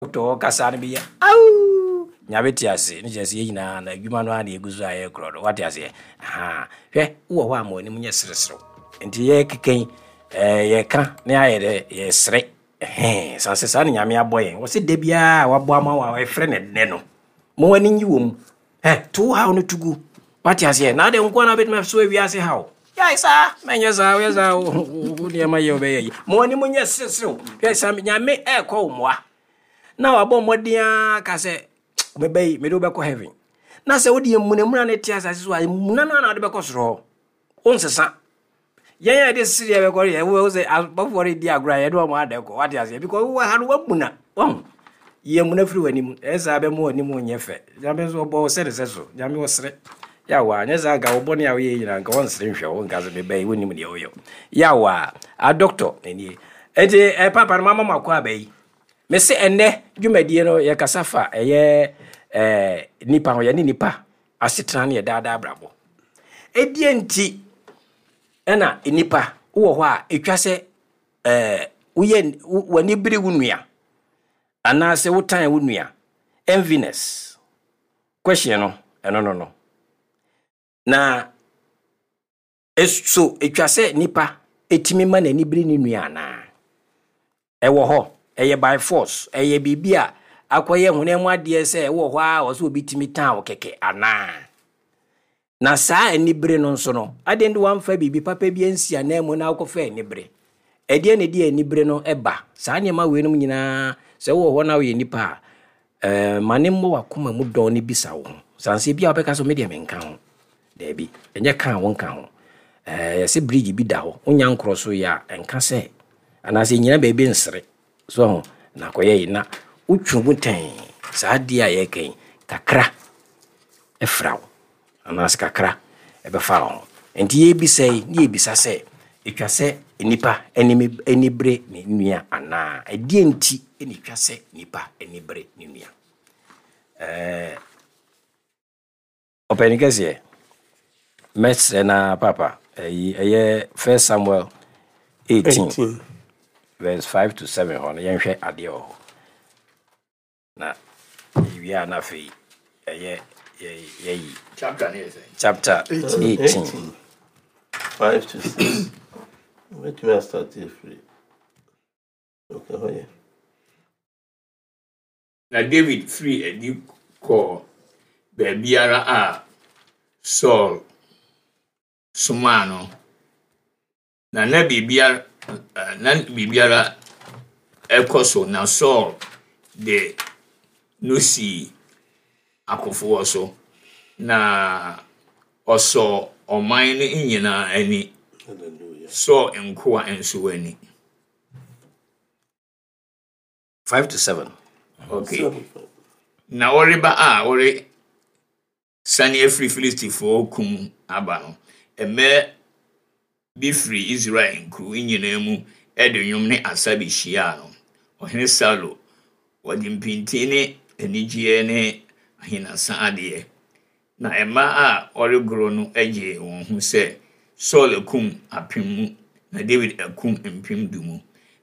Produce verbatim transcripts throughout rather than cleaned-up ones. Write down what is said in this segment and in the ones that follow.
Dɔkta ɔkasa no bi yɛ awuu Nyame te ase ne kyerɛ sɛ yɛn nyinaa na adwuma no ara na yɛgu so a yɛkorɔ no, wate aseɛ? Ahaa, hwɛ, wowɔ hɔ a ma w'anim nyɛ sereserew. Nti yɛkeka yi, ɛɛ yɛka na yɛayɛ dɛ yɛsere. Ɛhɛn, san sɛ saa na Nyame abɔ yɛn. Wɔse da biara a wabɔ ama wo a ɛfrɛ no nnɛ no, ma w'ani nye wɔ mu. Ɛ, to wo haw no to gu. Wate aseɛ? Na adɛn nko ara na wobɛtumi asoa wiase haw? Gyae saa, mɛnyɛ saa, woyɛ saa, wo nneɛma yɛ wobɛyɛ yi. Ma w'anim nyɛ sereserew. Hwɛ, sɛ Nyame ɛrekɔ wo mmoa, na wabɔ mmɔden ara ka sɛ, meba yi, mede wo bɛkɔ heaven. Na sɛ wode mmunamuna no te asase so a, mmuna no ara na wode bɛkɔ soro hɔ. Wonsesa. Yɛn a yɛde sereɛ bɛkɔ no yɛ, wobɛhu sɛ abɔfoɔ no redi agorɔ a yɛne wɔn ada kɔ. Wate aseɛ? Because wowɔ ha no woamuna. Wahu? Yi amuna firi w'anim. Ɛyɛ saa bɛma w'anim nyɛ fɛ. Nyame nso ɔbɔ wo sɛ ne sɛ so. Nyame ɔsere. Yawa, nyɛ saa nka wo bɔne a woyɛ nyinaa nka wɔnsere nhwɛ wo nka sɛ meba yi wonim deɛ woyɛ. Yawa, a doctor nie. Enti eh, papa no mama mo akɔ aba yi. Mese ɛnnɛ dwumadie no yɛkasa fa ɛyɛ eh, nipa ho, yɛne nipa asetena ne yɛ daadaa abrabɔ. Ɛdeɛ nti ɛna nipa wowɔ hɔ a ɛtwa sɛ eh, woyɛ w'ani bere wo nua anaasɛ wotan wo nua, enviness question no ɛno no no na so ɛtwa sɛ nipa ɛtumi ma n'ani bere ne nua anaa? Ɛwɔ hɔ, ɛyɛ by force, ɛyɛ biribi a akɔyɛ honam mu adeɛ sɛ ɛwɔ hɔ a ɔsɛ obi tumi tan wo kɛkɛ anaa? Na saa anibere no nso no, adɛn de wamfa biribi papa bi ansi anan mu na wokɔfa anibere? Ɛdeɛ na ɛde anibere no ɛba? Saa nneɛma weinom nyinaa, sɛ wowɔ hɔ na woyɛ nipa a, ɛɛ ma ne mmɔ w'akoma mu dɔn ne bisa wo ho. Sanse bi a wobɛka sɛ medeɛ menka ho. Daabi, ɛnyɛ ka a wonka ho. Ɛɛ yɛsɛ bridge bi da hɔ, wonya nkorɔ so yɛ a, ɛnka sɛ anaasɛ nyina baabi nsere. So ho na akɔyɛ yi na wotwe mu tɛn saa adeɛ a yɛreka yi kakra ɛfra wo anaasɛ kakra ɛbɛfa wo ho. Nti yɛbisa yi ne yɛbisa sɛ ɛtwa sɛ nipa anim ani bere ne nua anaa? Ɛdeɛ nti na ɛtwa sɛ nipa ani bere ne nua? Ɛɛ ɔpanin kɛseɛ, mɛsrɛ na papa ɛyi ɛyɛ First Samuel eighteen, eighteen verse five to seven hɔ no, yɛnhwɛ adeɛ wɔ hɔ. Na yɛwie a na afei ɛyɛ yɛyi Chapter ne yɛ sɛ? Chapter eighteen. five to six. Wobɛtumi astart afiri. Okay, hɔ yɛ. Na David firi adi kɔɔ baabiara a Saul somaa no. Na na biribiara na biribiara ɛkɔ so na Saul de no sii akofoɔ so na ɔsɔɔ ɔman no nyinaa ani. Hallelujah. Saul nkoa nso ani. five to seven. Okay. Seven, five. Na wɔreba a wɔresane afiri Filistifoɔ kum aba no, mmaa bi firi Israel nkuro nyinaa mu de nnwom ne asa behyiaa no. Ɔhene Saulo, wɔde mpintin ne anigyeɛ ne ahenasa adeɛ. Na mmaa a wɔregoro no gyee wɔn ho sɛ, Saul akum apem mu, na David akum mpem du mu.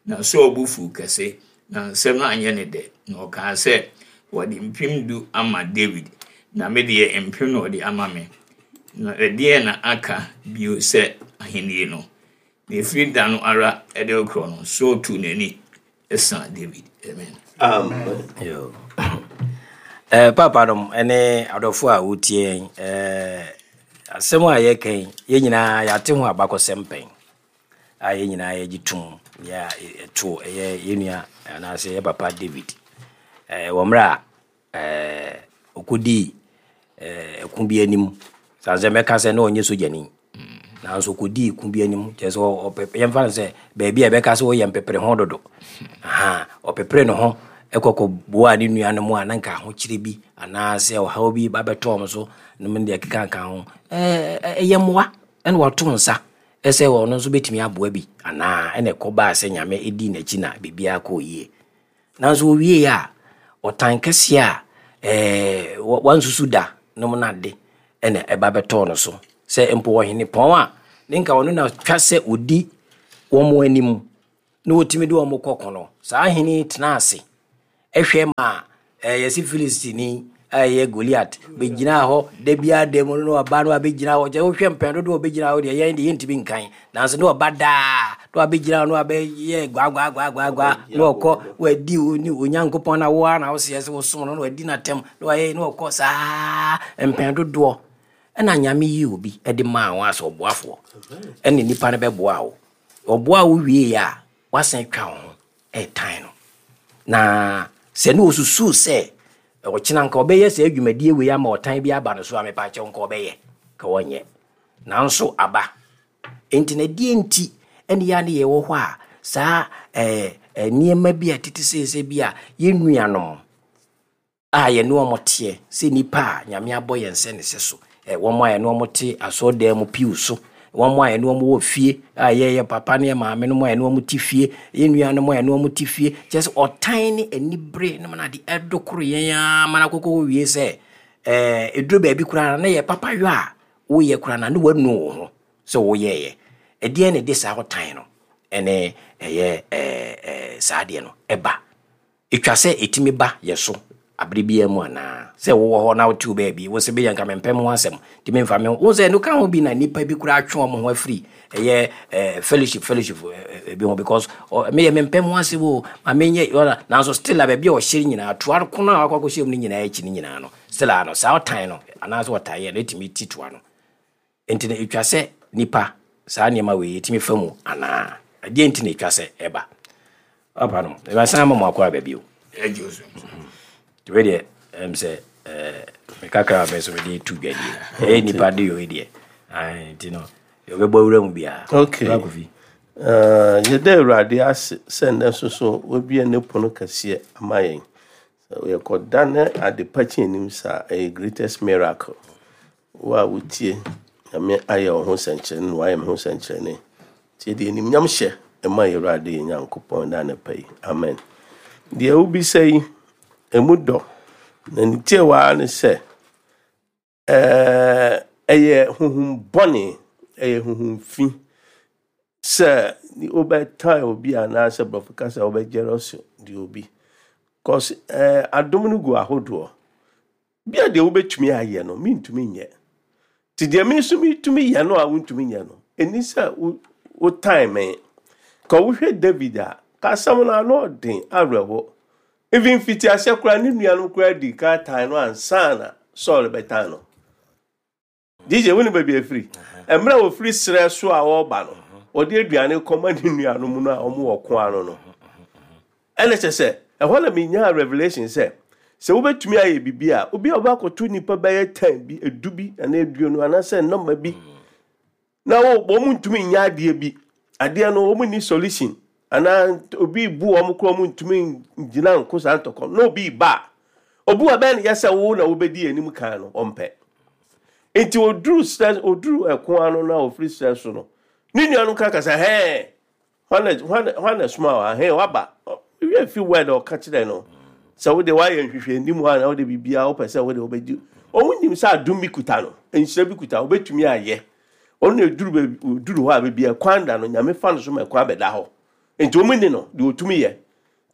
Na Saul bo fuw kɛse, na nsɛm no anyɛ ne dɛ. Na ɔkaa sɛ, wɔde mpem du ama David, na me deɛ mpem na ɔde ama me. Na ɛdeɛn na aka bio sɛ ahenni no? Na ɛfiri da no ara de rekorɔ no, Saul tuu n'ani sa David. Amen. Amen. Yo. Eh, papa nom ne adɔfo a wotie yɛn, eh, asɛm a yɛka yi, yɛn nyinaa yɛate ho abakɔsɛm pɛn a yɛn nyinaa yɛgye tom yɛ a ɛto ɛyɛ yɛn nua anaasɛ yɛ papa David eh, wɔ mmerɛ a eh, ɔkɔdii eh, ɛko bi anim san sɛ mɛka sɛ na ɔnyɛ sogyani nanso ɔkɔdii ko bi anim kyerɛ sɛ ɔpɛ yɛmfa no sɛ baabi a yɛbɛka sɛ ɔyɛ mpepere ho dodo. Aha, ɔpepere ne ho ɛkɔkɔ boa ne nuanom a na nka ahokyere bi anaasɛ ɔhaw bi ba bɛtɔ wɔn so nom deɛ ɛkeka ka ho. ɛɛ ɛyɛ mmoa ɛna wato nsa ɛsɛ ɔno nso bɛtumi aboa bi anaa ɛna ɛkɔ baa sɛ Nyame ɛdii n'akyi na biribiara kɔɔ yie. Nanso owie a ɔtan kɛseɛ a ɛɛ wansusu da nom no ade ɛna ɛba bɛtɔɔ no so sɛ mpo ɔhene pɔn a ne nka ɔno na twa sɛ ɔdi wɔn anim na wɔtumi de wɔn kɔko no, saa hene yi tena ase Ɛhwɛ ma yɛsi Filistini a ɛyɛ Goliat bɛgyinaa hɔ da biara da mu no, na waba no abɛgyina hɔ. Kyɛ wohwɛ mpɛn dodoɔ a ɔbɛgyina hɔ deɛ, yɛn deɛ yɛntumi nkan, nanso ne ɔba daa na wabɛgyina hɔ na wabɛyɛ gwaagwaagwaagwaa na ɔkɔ. Wadi ne Onyankopɔn na wo ara na woseɛ sɛ wosom no, na wadi n'atɛm na wayɛ na ɔkɔ saa mpɛn dodoɔ. Ɛna Nyame yi obi de maa wɔn asɛ ɔboafoɔ, ɛne nipa no bɛboa wo. Ɔboa wo wie a, wasan twa wo ho ɛɛtan no. Na sɛ ne osusu sɛ ɔkyena nka ɔbɛyɛ sɛ adwumadie wei ama ɔtan bi aba no so a, mepa kyɛw, nka ɔbɛyɛ ka wɔnyɛ, nanso aba. Enti na deɛ nti ɛne yɛ ne yɛwɔ hɔ a saa ɛɛ nneɛma bi a tete sɛ bi a yɛn nuanom a yɛne wɔn teɛ sɛ nipa a Nyame abɔ yɛn sɛ ne sɛ so, ɛ wɔn a yɛne wɔn te asɔredan mu piw so, wɔn a yɛne wɔn wɔ fie a yɛyɛ papa ne yɛ maame no mu a yɛne wɔn te fie, yɛn nuanom a yɛne wɔn te fie, kyerɛ sɛ ɔtan ne anibere ne mu na de ɛdokoro yɛn ama na akokɔ wie sɛ ɛɛ eduro baabi koraa na yɛ papa yɔ a woyɛ koraa na ne wanu wo ho sɛ woyɛɛyɛ. Ɛdeɛn na ɛde saa ɔtan no ɛne ɛyɛ ɛɛ ɛɛ saa adeɛ no ɛba? Etwa sɛ ɛtumi ba yɛ so abere biara mu anaa sɛ wowɔ hɔ na wote wo baabi wo sɛ bɛyɛ nka mempɛ mo ho asɛm nti memfa me ho wo sɛ ɛno ka ho bi na nnipa bi koraa atwe wɔn ho afiri ɛyɛ ɛɛ fellowship fellowship ɛɛ bi ho, because ɔ meyɛ mempɛ mo ho asɛm o, ma menyɛ ɔna. Nanso still a baabi a ɔhyɛ nyinaa toa kono a wakɔ akɔhyɛ mu no nyinaa akyi no nyinaa no, still a no saa ɔtan no anaasɛ ɔtaeɛ no ɛtumi ti toa no. Nti no ɛtwa sɛ nipa saa nneɛma wei ɛtumi fa mu anaa ɛdeɛ nti na ɛtwa sɛ ɛba papa no ɛbɛsan ma mo akɔ aba bio? Ɛgye so. Nti wei deɛ, ɛm sɛ ɛɛ mekakra a me nso mede tu dwadie ɛyɛ nipa de yɛ deɛ. Ae, nti no yɛbɛbɔ awura mu biara. Okay. Bra Kofi. Uh, yɛda Awurade ase sɛ nnɛ nso so wabue ne pono kɛseɛ ama yɛn. Sɛ yɛkɔda ne ade pa kyi anim saa, ɛyɛ greatest miracle. Wo a wotie, Nyame ayɛ wo ho nsɛnkyerɛnne na wayɛ me ho nsɛnkyerɛnne, nti yɛde animnyam hyɛ ɛma yɛ Awurade yɛ Nyankopɔn da anɔpa yi. Amen. Deɛ wobisa yi, ɛmu dɔ na ne tie waa ne sɛ ɛɛ ɛyɛ honhom bɔne, ɛyɛ honhom fi sɛ wobɛtan obi anaasɛ borɔfo kasa wobɛgyerɛ deɛ obi, cause ɛɛ adom no gu ahodoɔ bia. Deɛ wobɛtumi ayɛ no, mentumi nyɛ, nti deɛ me nso metumi yɛ no a wontumi nyɛ no, ɛni sɛ wo wotan me. Ka wohwɛ David a, ka asɛm no ano ɔden awerɛho. Even fiti aseɛ koraa, ne nuanom koraa di ka tan no ansa na Saul bɛtan no. D J, wo ne baabi afiri mmerɛ a wɔfiri serɛ so a wɔreba no, wɔde aduane kɔma ne nuanom no a wɔn wɔ ko ano no, ɛna kyɛ sɛ ɛhɔ na menyaa revelation sɛ sɛ wobɛtumi ayɛ biribi a, obi a wobɛakɔto nnipa bɛyɛ ten bi, edu bi anaa aduonu anaasɛ nɔma bi na wo wɔn ntumi nyɛ adeɛ bi, adeɛ no wɔn ni solution anaa obi bu wɔn koraa, wɔn ntumi gyina nko saa ntɔkɔ na obi ba a, obi wɔ bɛn no yɛ sɛ wo na wobɛdi anim kan no, ɔmpɛ. Nti oduru srɛ, oduru ɛko ano na ofiri srɛ so no, ne nuanom ka kasa hɛn, hwan na hwan na soma wa hɛn waba wie fi word a ɔka kyerɛ no sɛ wode wayɛ nhwehwɛ anim a na wode biribiara wopɛ sɛ wode wobɛgye. Ɔmo nim sɛ adom bi kuta no, nhyira bi kuta, wobɛtumi ayɛ. Ɔno na eduru baabi, oduru hɔ a, baabi a ɛkwan da no, Nyame fa no so ma ɛkwan bɛda hɔ. Nti ɔmo ni no deɛ ɔtumi yɛ,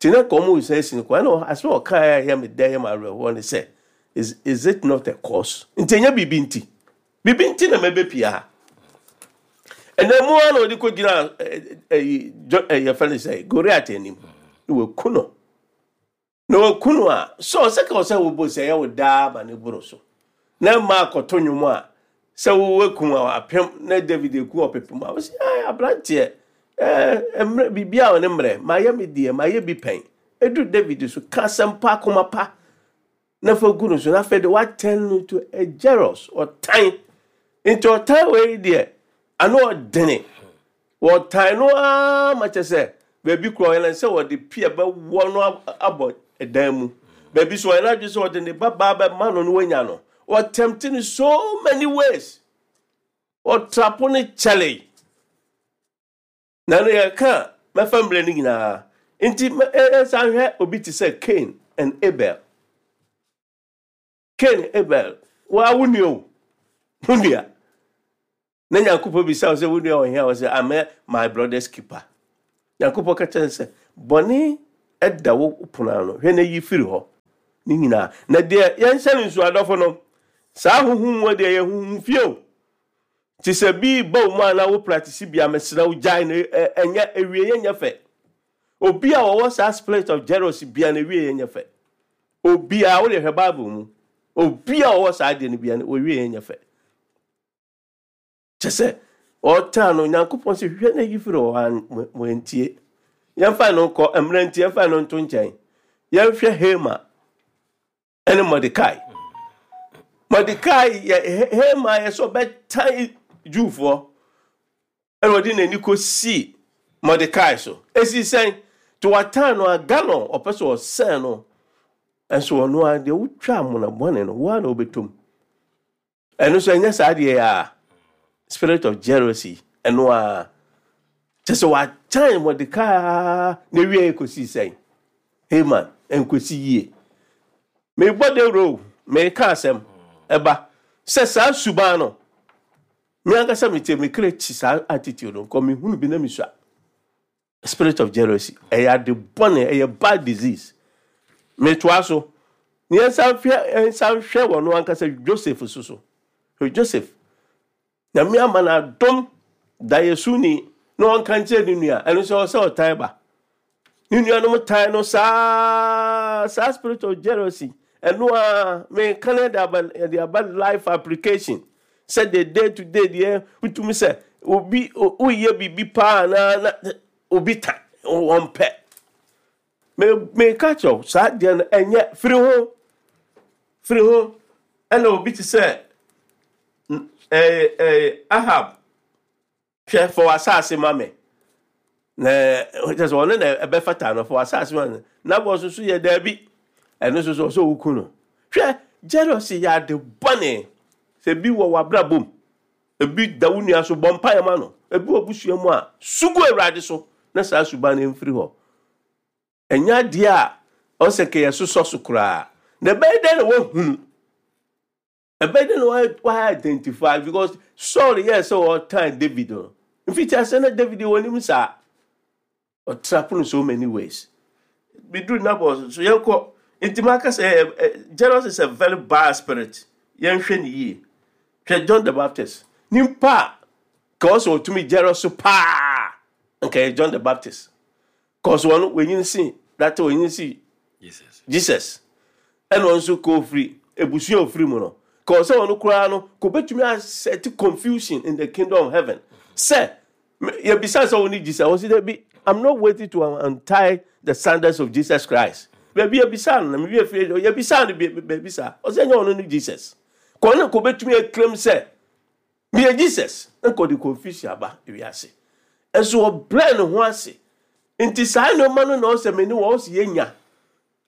nti na nka ɔmo nsa esi no kwan. Ɛna asɛm a ɔka a ɛyɛ me dɛ, yɛ me awerɛhoɔ ne sɛ, is is it not a cause? Nti ɛnyɛ biribi nti, biribi nti na mɛbɛpia ha ɛnna mu ara na ɔde kɔgyina ɛyi ɛyi yɛfrɛ no sɛ Goliath anim na waku no na waku no a sɛ ɔsɛ ka ɔsɛ wɔbɔ sɛ ɛyɛ wo daa ma ne boro so na mma akɔto nnwom a sɛ wowakum a apem na David eku ɔpepem a wɔsi ɛɛ aberanteɛ ɛɛ mmerɛ biribi a ɔne mmerɛ mayɛ me deɛ mayɛ bi pɛn. Edu David so, ka asɛm pa, akoma pa na fa gu no so, na afei de watɛn no to a jealous ɔtan. Nti ɔtan wei deɛ ano ɔdene, wɔtan no ara ma kyɛ sɛ baabi kura ɔyɛ sɛ wɔde pia bɛwɔ no abɔ ɛdan mu, baabi so ɔyɛ n'adwe sɛ ɔde ne babaa bɛma no no wanya no. Wɔtɛmte no so many ways, ɔtrapo ne kyɛle na no yɛka mɛfa mmerɛ no nyinaa. Nti ɛsan hwɛ obi te sɛ Cain and Abel. Cain, Abel, waa wo nua o, wo nua na Nyankopɔn bisa wo sɛ wo nua wɔ hia, wɔ sɛ, "Am I my brother's keeper?" Nyankopɔn ka kyerɛ sɛ bɔne ɛda wo pono ano, hwɛ na yi firi hɔ ne nyinaa. Na deɛ yɛnhyɛ no nsu, adɔfo no, saa honhom mu deɛ yɛ honhom fie o. Nti sɛ bi ba wo mu a na wo practice bi a, mesrɛ wo, gyae no. Ɛnyɛ ewie yɛ nyɛ fɛ. Obi a wɔwɔ saa spirit of jealousy bia na ewie yɛ nyɛ fɛ. Obi a wode hwɛ Bible mu, obi a wɔwɔ saa adeɛ no bia no, wɔwie yɛ nyɛ fɛ. Kyɛ sɛ ɔtaa no, Nyankopɔn sɛ hwɛ na yi firi hɔ a, wɔntie. Yɛmfa no nkɔ mmerɛ nti, yɛmfa no nto nkyɛn. Yɛnhwɛ Haman ɛne Mordecai. Mordecai yɛ Haman yɛ sɛ ɔbɛtan Jewfoɔ, ɛna ɔde n'ani kɔsii Mordecai so. Esi sɛn to watan no aga no, ɔpɛ sɛ ɔsɛn no, ɛnso ɔno a deɛ wotwa amona bɔne no, woa na wobɛtɔm. Ɛno nso ɛnyɛ saa deɛ a spirit of jealousy. Ɛno a kyɛ sɛ watan Mordecai na ewie kɔsii sɛn? Haman nkɔsi yie. Mebɔ dawuro, meka asɛm ɛba sɛ saa suban no, me ankasa metie me kra kyi saa attitude no nkɔ. Mehunu bi na mesua spirit of jealousy, ɛyɛ ade bɔne, ɛyɛ bad disease. Metoa so ne yɛnsa hwɛ, yɛnsa hwɛ wɔ no ankasa Joseph so so Hwɛ Joseph, Nyame ama no adom dayɛsuni na ɔnka nkyerɛ ne nua. Ɛno nso ɔsɛ ɔtan ba ne nuanom tan no saa. Saa spirit of jealousy, ɛno a meka no, yɛde aba yɛde aba life application sɛ the day to day deɛ, wotumi sɛ obi woyɛ biribi paa na na obi ta wɔmpɛ. Meka kyerɛw, saa deɛ no ɛnyɛ, firi ho, firi ho. Ɛna obi te sɛ ɛɛ ɛɛ Ahab, hwɛ, fɔ w'asase ma me, na kyerɛ sɛ ɔno na ɛbɛfata no. Fɔ w'asase ma me na bɔ nso so yɛ daabi. Ɛno nso so ɔsɛ ɔwuku no. Hwɛ, jealousy yɛ ade bɔne. Sɛ bi wɔ w'abrabɔ mu, ebi da wo nua so, bɔ mpaeɛ ma no. Ebi wɔ busua mu a, sugu Awurade so na saa suban no mfiri hɔ. Ɛnyɛ adeɛ a ɔsɛ kɛ yɛsosɔ so koraa. Na ɛbɛyɛ dɛn na woahunu? Ɛbɛyɛ dɛn na wa identify? Because Saul yɛ sɛ ɔtan David no, mfiti ase na David wɔ nim saa ɔtrap no so many ways. Biduru Nabɔ so, yɛnkɔ. Nti maka sɛ ɛ jealous is a very bad spirit. Yɛnhwɛ ne yie. Hwɛ John the Baptist, nipa a ka ɔsɛ ɔtumi jealous paa nka yɛ John the Baptist, cause wɔn wɔnyin si data, wɔnyin si Jesus. Jesus. Ɛna ɔno nso ka ofiri ebusua ofiri mu no, ka ɔsɛ ɔno koraa no ka obetumi aset confusion in the kingdom of heaven. Sɛ yɛbisa sɛ wɔn ni Jesus, wɔsi dɛ bi, "I'm not waiting to untie the sandals of Jesus Christ." Baabi yɛbisa no na mi wie fie, yɛbisa no baabi saa, ɔsɛ nyɛ ɔno ni Jesus. Kɔn ne ka obetumi eclaim sɛ meyɛ Jesus, nka ɔde confusion aba ewiase. Ɛnso ɔbrɛ ne ho ase. Nti saa nneɛma no na ɔsɛ me ne wɔ ɔsɛ yɛnya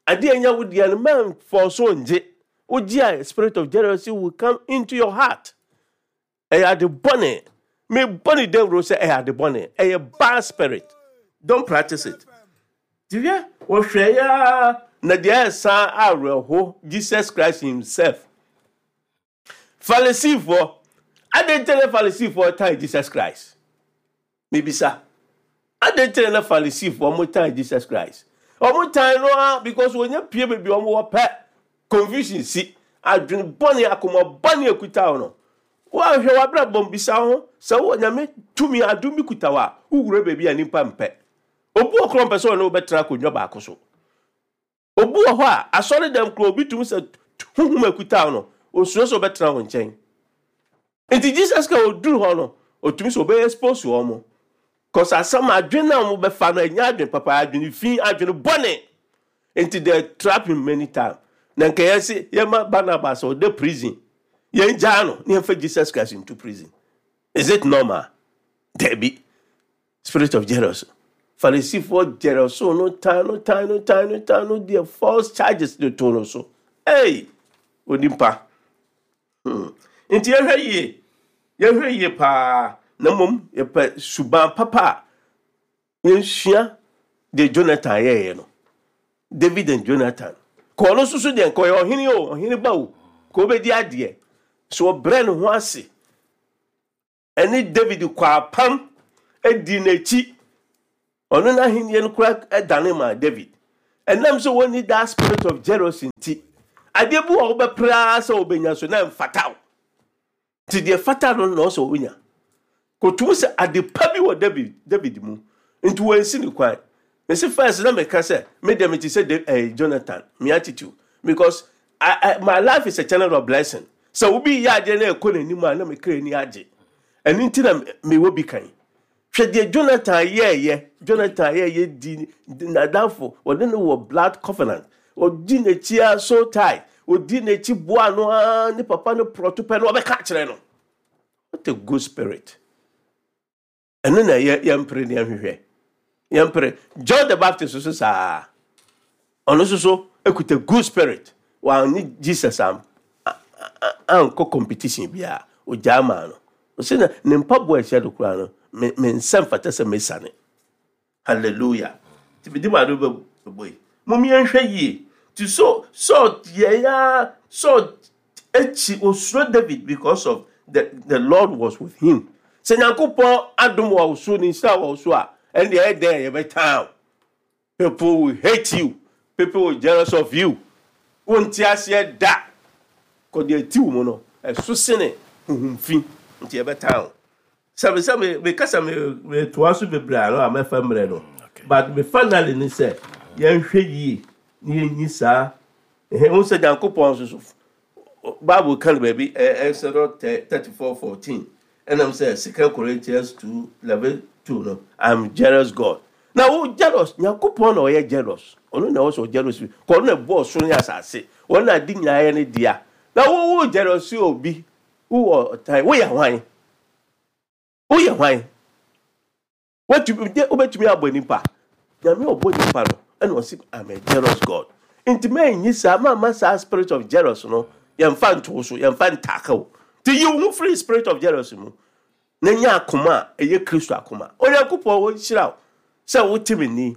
adeɛ nya wo deɛ no, mɛnfɔ so ngye. Wogye a, spirit of jealousy will come into your heart. Ɛyɛ ade bɔne. Mebɔ ne dawuro sɛ ɛyɛ ade bɔne, ɛyɛ bad spirit. Don't practice it. Tihwɛ, wɔhwɛ ya na deɛ ɛsan awerɛho, Jesus Christ himself, Farisifoɔ ade nkyɛn na Farisifoɔ tan Jesus Christ. Mebisa, ade nkyɛn na Farisifoɔ mo tan Jesus Christ? Ɔmo tan no a because wɔnyɛ pie baabi a ɔmo wɔ pɛ, confusion si. Adwene bɔne, akoma bɔne ekuta wo no, wɔahwɛ w'abrabɔ, bisa ho sɛ wɔ Nyame tumi adom bi kuta wo a, wowura baabi a nipa mpɛ. Obi wɔ korɔ mpɛ sɛ ɔne wobɛtena akonnwa baako so. Obi wɔ hɔ a, asɔre dɛm korɔ, obi tumi sɛ huhum akuta wo no, osuro sɛ ɔbɛtena wo nkyɛn. Nti Jesus ka oduru hɔ no, otumi sɛ ɔbɛyɛ expose wɔn mo, cause asɛm adwene a wɔn bɛfa no ɛnyɛ adwene papa, adwene fi, adwene bɔne. Nti they trap him many times. Na nka yɛsi yɛma Barnabas ɔda prison, yɛn gyaa no ne yɛmfa Jesus Christ into prison. Is it normal? Dabi. Spirit of jealousy, Farisifoɔ jealous no, tan no, tan no, tan no, tan no deɛ, false charges de to no so. Hey, onipa hmm. Nti yɛhwɛ yie, yɛhwɛ yie paa. Na mmom yɛpɛ suban papa a, yɛnsua deɛ Jonathan yɛɛyɛ no. David and Jonathan, ka ɔno nso so deɛ, nka ɔyɛ ɔhene o, ɔhene ba o, ka ɔbɛdi adeɛ so. Ɔbrɛ ne ho ase ɛne David kɔ apam adi n'akyi. Ɔno n'ahenni no kora ɛdane ma David. Ɛnam sɛ wɔnni that spirit of jealousy nti, adeɛ bi wɔ wobɛpere ara sɛ wobɛnya so na ɛmfata wo. Nti deɛ fata no na ɔsɛ wonya. Kɔtum sɛ ade pa bi wɔ David David mu, nti wɔnsi ne kwan. Mesi first na meka sɛ me deɛ, mete sɛ eh, Jonathan, me attitude, because I, I, my life is a channel of blessing. Sɛ obi yɛ adeɛ na ɛkɔ n'anim a, na mekra ani agye. Ɛno nti na mewɔ bi kan. Hwɛ deɛ Jonathan yɛɛyɛ. Jonathan yɛɛyɛ di n'adamfo, wɔne no wɔ blood covenant, ɔdi n'akyi a so tight, ɔdi n'akyi boa no ara, ne papa no prɔto pɛ no, ɔbɛka kyerɛ no. What a good spirit! Ɛno na yɛ yɛmpere ne yɛnhwehwɛ, yɛmpere. John the Baptist nso saa, ɔno nso so ekuta good spirit. Wɔne Jesus am ankɔ competition biara, ogyaa maa no. Ɔsɛ na ne mpaboa ɛhyɛ do koraa no, me me nsa mfata sɛ mesane. Hallelujah! Nti mede maa no bɛbɔ yi, mom yɛnhwɛ yie. Nti so Saul yɛ ya, Saul akyi osuro David because of the the Lord was with him. Sɛ Nyankopɔn adom wɔ wo so, ne nhyira wɔ wo so a, ɛndeɛ ɛyɛ dɛn yɛbɛtan wo. People will hate you, people will jealous of you. Wonte aseɛ da kɔde ati wo mu no, ɛso sene huhumfi, nti yɛbɛtan wo. Sɛ me sɛ me mekasa me metoa so bebree ano a, mɛfa mmerɛ no, but me finally ne sɛ yɛnhwɛ yie na yɛnyi saa ɛhɛn wo sɛ Nyankopɔn nso so, Bible ka no baabi, Exodus thirty four fourteen, ɛnam sɛ Second Corinthians two eleven two no, "I'm jealous God." Na wo jealous Nyankopɔn na ɔyɛ jealous, ɔno na ɛwɔ sɛ ɔjealous bi kɔ, ɔno na ɛbɔɔ soro ne asase, ɔno na ade nyinaa yɛ ne dea. Na wo wo jealous obi, wowɔ ɔtan, woyɛ hwan? Woyɛ hwan? Wotumi wobɛtumi abɔ nipa? Nyame ɔbɔ nipa no, ɛna ɔsi, "I'm a jealous God." Nti mɛnyi saa, mama saa spirit of jealous no, yɛmfa nto so, yɛmfa ntaaka o. Nti yi wo ho firi spirit of jealous mu na nya akoma a ɛyɛ Kristo akoma. Onyankopɔn wɔnhyira wo sɛ wote me ni,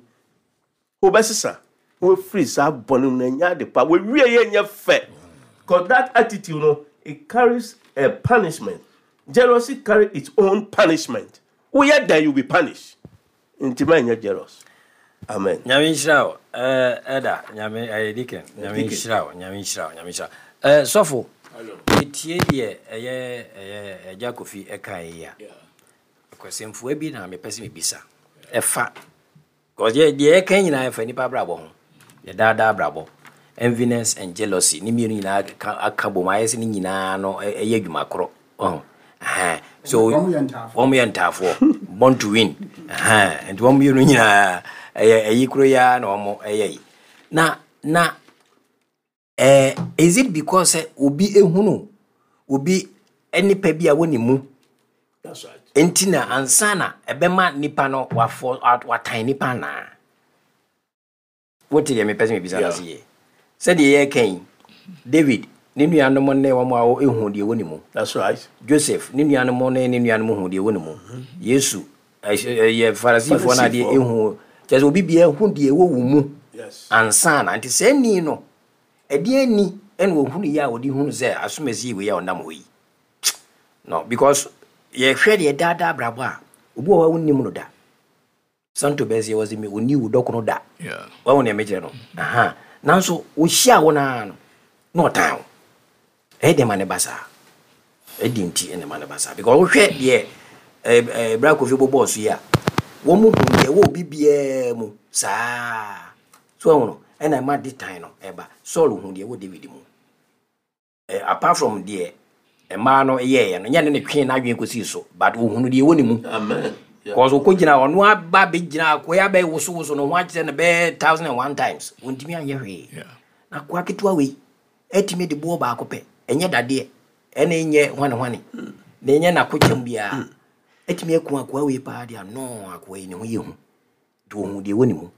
wobɛsesa wofiri saa bɔne mu na nya ade pa. Wɔwie yɛ nyɛ fɛ, because that attitude no, it carries a punishment. Jealousy carry its own punishment. Woyɛ dan, you be punished. Nti mɛnyɛ jealous. Amen. Nyame nhyira wo, ɛda Nyame ɛyɛ deacon. Nyame nhyira wo, Nyame nhyira wo, Nyame nhyira wo. Sɔfo, ɛtie deɛ ɛyɛ ɛyɛ Agya Kofi ɛka yi a, kwasɛmfua bi na mepɛ sɛ mebisa ɛfa, because deɛ yɛka nyinaa ɛfa nipa abrabɔ ho, yɛdaadaa abrabɔ. Enviness and jealousy ne mmienu nyinaa aka bom ayɛ sɛ ne nyinaa no ɛyɛ adwuma korɔ. So wɔn yɛ ntaafoɔ, born to win. Nti wɔn mmienu nyinaa ɛyɛ ɛyi koro yi ara na wɔn ɛyɛ yi na na ɛɛ is it because sɛ obi ehunu obi nipa bi a wɔ ne mu nti na ansa na ɛbɛma nipa no wafɔ watan nipa naa? Wote deɛ mepɛ sɛ mebisa no ase yie? Sɛdeɛ yɛreka yi, David ne nuanom ne wɔn a ehu deɛ ɛwɔ ne mu. That's right. Joseph ne nuanom ne ne nuanom hu deɛ ɛwɔ ne mu. Yesu ɛyɛ Farisifoɔ no adeɛ ehu kyerɛ sɛ obi bia ehu deɛ ɛwɔ wo mu ansa na. Nti sɛ ni no ɛdeɛ ni ɛna ohunu yi a wɔde hunu sɛ asomasi wei a ɔnam hɔ yi no, because yɛhwɛ deɛ daadaa abrabɔ a, obi wɔ hɔ a wonnim no da. Santo bɛsɛ wɔ sɛ ɔni wo dɔkono da, wahu nea mekyerɛ no? Aha, nanso wohyia wo naa no na ɔtan wo. Ɛyɛ deɛ ma ne ba saa, ɛdi nti ɛna ma ne ba saa, because wohwɛ deɛ ɛɛ bra Kofi bɔbɔɔ so yi a, wɔn mu hu deɛ ɛwɔ obi biara mu saa so ɛho no, ɛna ɛma de tan no ɛba. Saul hu deɛ ɛwɔ David mu, ɛ apart from deɛ mmaa no yɛɛyɛ no, nyɛ ne ne twe n'adwene kɔsii so, but ohunu deɛ ɛwɔ ne mu. Amen. Cause okɔ gyina, ɔno aba bɛgyina akoa abɛ wosowoso ne ho akyerɛ no bɛyɛ thousand and one times, wɔntumi anyɛ hwee. Na akoa ketewa wei ɛtumi de boɔ baako pɛ, ɛnyɛ dadeɛ, ɛna ɛnyɛ hwane hwane na ɛnyɛ n'akokyɛm biara, ɛtumi aku akoa wei paa deɛ ano. Akoa yi ne ho yɛ hu, nti ohun deɛ ɛwɔ ne mu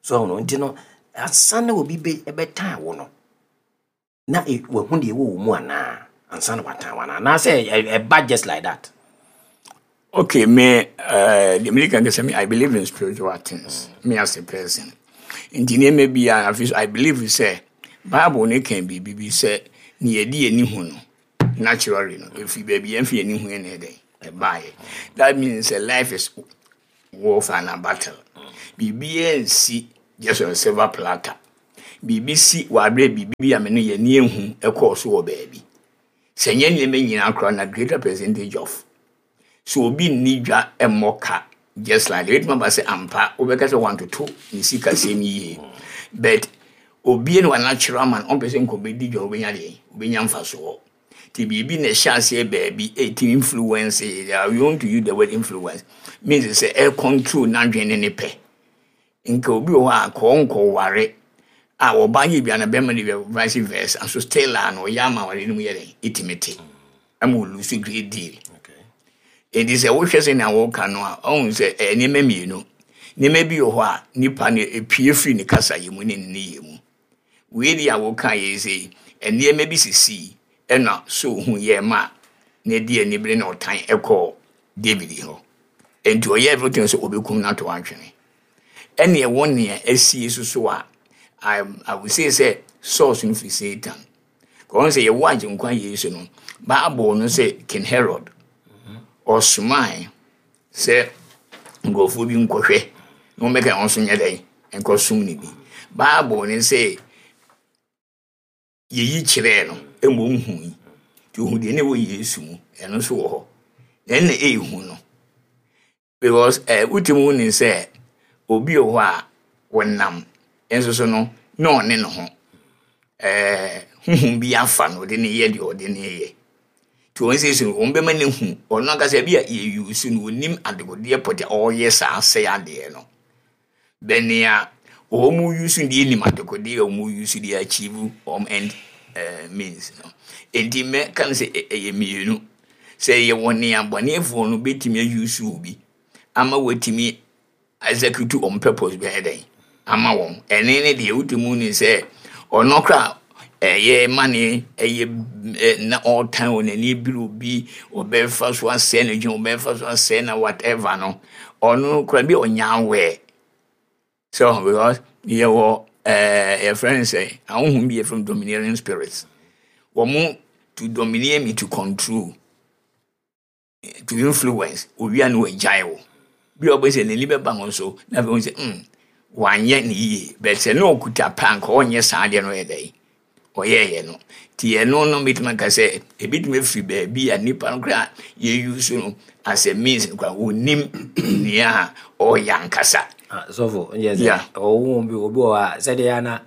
so ɔno nti no, ansa na obi bɛ ɛbɛtan wo no, na e- wahu deɛ ɛwɔ wo mu anaa, ansa na watan wo anaa, anaasɛ ɛ- ɛba just like that? Okay, me, uh, the American can say I believe in spiritual things. Me as a person. Nti nneɛma bi a afi so I believe sɛ Bible ne kan biribi bi sɛ ne yɛde yɛn hu no naturally no, efi baabi yɛn fi yɛn hu yɛn na ɛdɛn ɛbaayɛ. That means sɛ life is warfare and battle. Biribi nsi Just on a silver platter. Biribi si wɔ aberɛ biribi bi a me no yɛni ehu ɛkɔɔ so wɔ baabi. Sɛ nyɛ nneɛma nyinaa koraa na greater percentage of. So obi nni dwa mmɔ ka just like that. Ebɛtumi aba sɛ ampa wobɛka sɛ wantoto ne sikasɛm yie. But obie no wanatural man ɔmpɛ sɛ nkɔbɛdi dwa wobɛnya deɛ wobɛnya mfasoɔ. Nti biribi na ɛhyɛ aseɛ baabi ɛtumi influence I want to use the word influence means sɛ ɛ control n'adwene ne ne pɛ. Nka obi wɔ hɔ a kɔɔ nkɔware a ɔbaa yɛ bi ana bɛrima de bi vice versa nso still a na ɔyɛ ama aware no mu yɛ dɛn ɛtumi te ɛma ɔlose great deal. Enti sɛ wohwɛ sɛ nea wɔka no a ɔhu sɛ ɛyɛ nneɛma mmienu. Nneɛma bi wɔ hɔ a nipa no epie firi ne kasa yɛ mu ne ne nneyɛɛ mu. Wei deɛ a wɔka yɛ sɛ nneɛma bi sisi ɛna so hu yɛ ma na ɛdi anibere na ɔtan ɛkɔɔ David hɔ. Enti ɔyɛ everything sɛ ɔbɛkum no ato atwene. Ɛne ɛwɔ nea asie so so a I, I would say sɛ source no firi Satan. Kɔn sɛ yɛwɔ agyenkwa Yesu no, Bible no sɛ King Herod ɔsomae sɛ nkurɔfoɔ bi nkɔhwɛ na wɔmmɛka wɔn nso nyɛ dɛn nkɔsom no bi. Bible no sɛ yɛyi kyerɛɛ no mmom hui. Nti ohu deɛ na ɛwɔ Yesu mu, ɛno nso wɔ hɔ. Na ɛno na ɛyɛ no. Because eh, wotumi hu ne sɛ obi wɔ hɔ a wɔnam nso so no na ɔne ne ho. Eh, huhum bi afa no ɔde ne yɛ deɛ ɔde ne yɛ. Nti wɔn sɛ so wɔn bɛma ne hu ɔno ankasa bi a yɛyi so no onim adekodeɛ pɔtɛ a ɔreyɛ saa asɛe adeɛ no. Bɛnea wɔn mu use deɛ nim adekodeɛ a wɔn use deɛ achieve wɔn end uh, means no. Nti mɛka no sɛ ɛyɛ mmienu. Sɛ yɛwɔ nea bɔnefoɔ no bɛtumi ause obi ama wɔatumi execute wɔn purpose bi ayɛ dɛn ama wɔn. Ɛne ne deɛ wotumi ne sɛ ɔno kora ɛyɛ ma ne ɛyɛ na ɔretan wɔ n'ani ebiri obi ɔbɛfa so asɛe n'adwuma ɔbɛfa so asɛe na whatever no ɔno kora bi a ɔnya aware so because yɛwɔ ɛɛ yɛfrɛ no sɛ ahohom bi yɛfrɛ no domineering spirits wɔn to domineer me to control to influence owia no wagyae wo bi a ɔbɛ sɛ n'ani bɛba ho so na afei wɔn sɛ mm wanyɛ ne yie but sɛ ne ɔkuta pa nka ɔnyɛ saa adeɛ no yɛ dɛ ɔyɛɛyɛ no nti ɛno no mɛtumi aka sɛ ebitumi afiri baabi a nipa no koraa yɛyi so no as a means no koraa onim nea ɔyɛ ankasa. Ah, sɔfo nyɛ sɛ ɔwɔ bi obi wɔ hɔ a sɛdeɛ ana